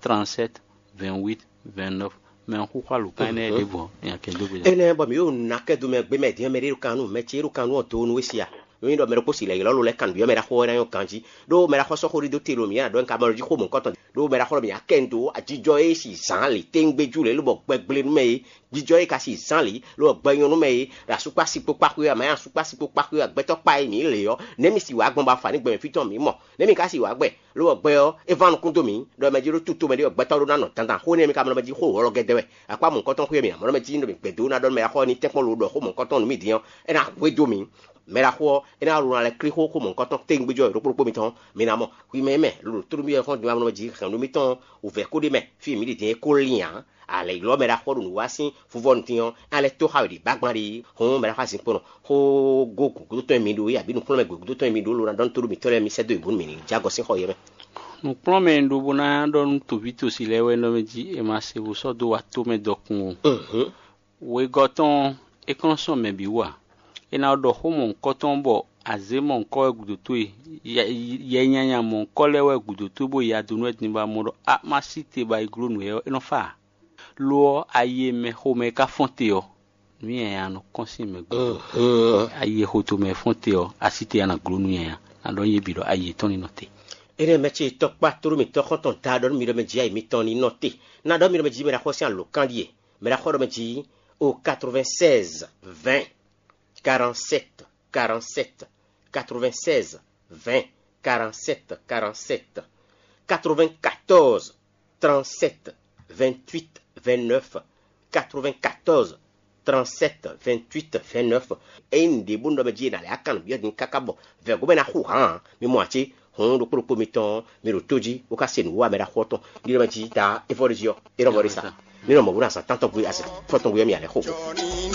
trente-sept vingt-huit vingt-neuf. Mɛ ɔ́ xúxú alǒkan énɛ́ ɖěvo ɔ́, nya kɛ dó gbe. Énɛ́ bɔ mǐ ɖo ná kɛ do mɛ gbé mɛ din ɔ́, mɛ ɖé ɖo kan nú mɛ ce e ɖo kan nú ɔ́ do nú we sia. Nú nyí ɖɔ mɛ ɖokpó si lɛ̌ ylɔ́ lo lɛ́ kan nǔbyɔ́ mɛ ɖaxó ɔ́ ná nyɔ́ ganjí, ɖó mɛ ɖaxó sɔ́ xó ɖidó te ɖo mǐ nǎ ɖɔ nyi ka mɔ jí xó mɔ̌hunkɔtɔn, ɖó mɛ ɖaxó ɖɔ mǐ ná kɛ nǔ dó ajijɔ e si zǎn lǐ téŋgbé jú lě lobɔ gbɛgble nú mɛ é, jijɔ e ka si zǎn lǐ lobɔ gbɛ nyɔ́ nú mɛ é, ɖo asúkpási kpó kpáxwé amǎ asúkpási kpó kpáxwé agbɛtɔ́ kpa e mǐ lě ɔ́, nɛ̌ mi si wǎ gbɔn bɔ afa ní gbɛ mɛ fí tɔn mǐ mɔ? Nɛ̌ mi ka si wǎ gbɛ? Lobɔ gbɛ ɔ́, é ván nukún dó mǐ, ɖɔ mɛ jí ɖó túto mɛ ɖé wɛ gbɛtɔ́ ɖó ná nɔ dandan xó nɛ́ mi ka mlɔ mɛ jí xó wlɔ́ gɛ́dɛ́ wɛ. Akpá mɔ̌hunkɔtɔn xwé mǐ ná mlɔ mɛ jí ɖɔ mǐ gbɛ̌ dó ná ɖɔ mɛ ɖaxó ɔ́ ní tɛ́nkpɔ́n lo ɖɔ xó mɔ̌hunkɔtɔn nú mì din ɔ́, é ná hwedó mì. Mɛ ɖaxó ɔ́, é ná ɖo ná lɛ́ klí xó xó mɔ̌hunkɔtɔn téŋgbéjɔ ɖokpó ɖokpó mitɔn, mi ná mɔ. Hwi mɛ mɛ, lǒ tónú mi wɛ xɔ́n din wá mlɔ mɛ jí hɛ̌nnu mitɔn wǔvɛ́ kó ɖ'é mɛ, fí e mǐ ɖe din é kó lín ǎ. A lɛ̌ ylɔ́ mɛ ɖaxó ɖo nǔ wa sín fuvɔ́nu din ɔ́, a lɛ́ tó xá we ɖi bágban ɖi, hɔn mɛ ɖaxó azinkpo nɔ, xó gó gǔdo tɔn e mi ɖó é, abǐ nǔkplɔ́nmɛ gǔdo tɔn e mi ɖó ló ná ɖɔ nú tóɖó mǐtɔn lɛ́ɛ mi sɛ́ dó yě bónú mǐ ní jɛ agɔ sín xɔ yɛ mɛ. Nǔkplɔ́nmɛ e un ɖó bó ná ɖɔ nú tɔví tosí lɛ́ɛ wɛ nɔ mɛ jí è ma se wǔ sɔ́ dó wa tó mɛ dɔkun o. Wegɔ́ tɔn ɔ́, é kɔn nɔ sɔ́ mɛ bǐ wú ǎ. É ná ɖɔ xó mɔ̌hunkɔtɔn bɔ azě mɔ̌hunkɔ wɛ gǔdo towe, yɛ nyanya mɔ̌hunkɔ lɛ́ɛ wɛ gǔdo towe bó ya dó nú wɛ din bɔ a mɔ ɖɔ a ma sí te bɔ a yi gló nǔ éyɛ́ ɔ́, é nɔ fá ǎ. Lo ɔ́, ayi e mɛ xomɛ ka fɔ́n te ɔ́, nǔ nyanya nɔ kɔn sín mɛ gbe. Ayi e xo tomɛ fɔ́n te ɔ́, a sí te a nǎ gló nǔ nyanya. Ná ɖɔ nú yě bǐ ɖɔ ayi yětɔn ní nɔ te. Énɛ́ mɛ ce tɔkpá tlóló mǐtɔn xɔ́ntɔn da ɖɔ nú mi ɖɔ mɛ jí ayi mitɔn ní nɔ te. Ná ɖɔ mi ɖɔ mɛ jí mɛ ɖaxó sín alǒkan ɖíe. Mɛ ɖaxó ɖɔ mɛ jí o quatre-vingt-seize vingt quarante-sept quarante-sept, quatre-vingt-seize vingt quarante-sept quarante-sept, quatre-vingt-quatorze trente-sept vingt-huit vingt-neuf, quatre-vingt-quatorze trente-sept vingt-huit vingt-neuf. Ényí nǔɖé bó nɔ mɛ jí è nǎ lɛ́ akán nǔ byɔ́ din káká bɔ vɛ̌go mɛ ná xú hǎn ǎ. Mi mɔ ǎ cé? Hɔn ɖokpó ɖokpó mitɔn ɔ́, mi ɖo tó jí bó ka se nǔ wa mɛ ɖaxó ɔ́ tɔn. Ní ɖɔ mɛ jí ta é vɔ ɖé jí ɔ́, é nɔ vɔ ɖé sa. Ní nɔ mɔ bó ná zǎn tántɔn gbe azǎn fɔ́tɔn gbe ɔ́ mi alɛ xo.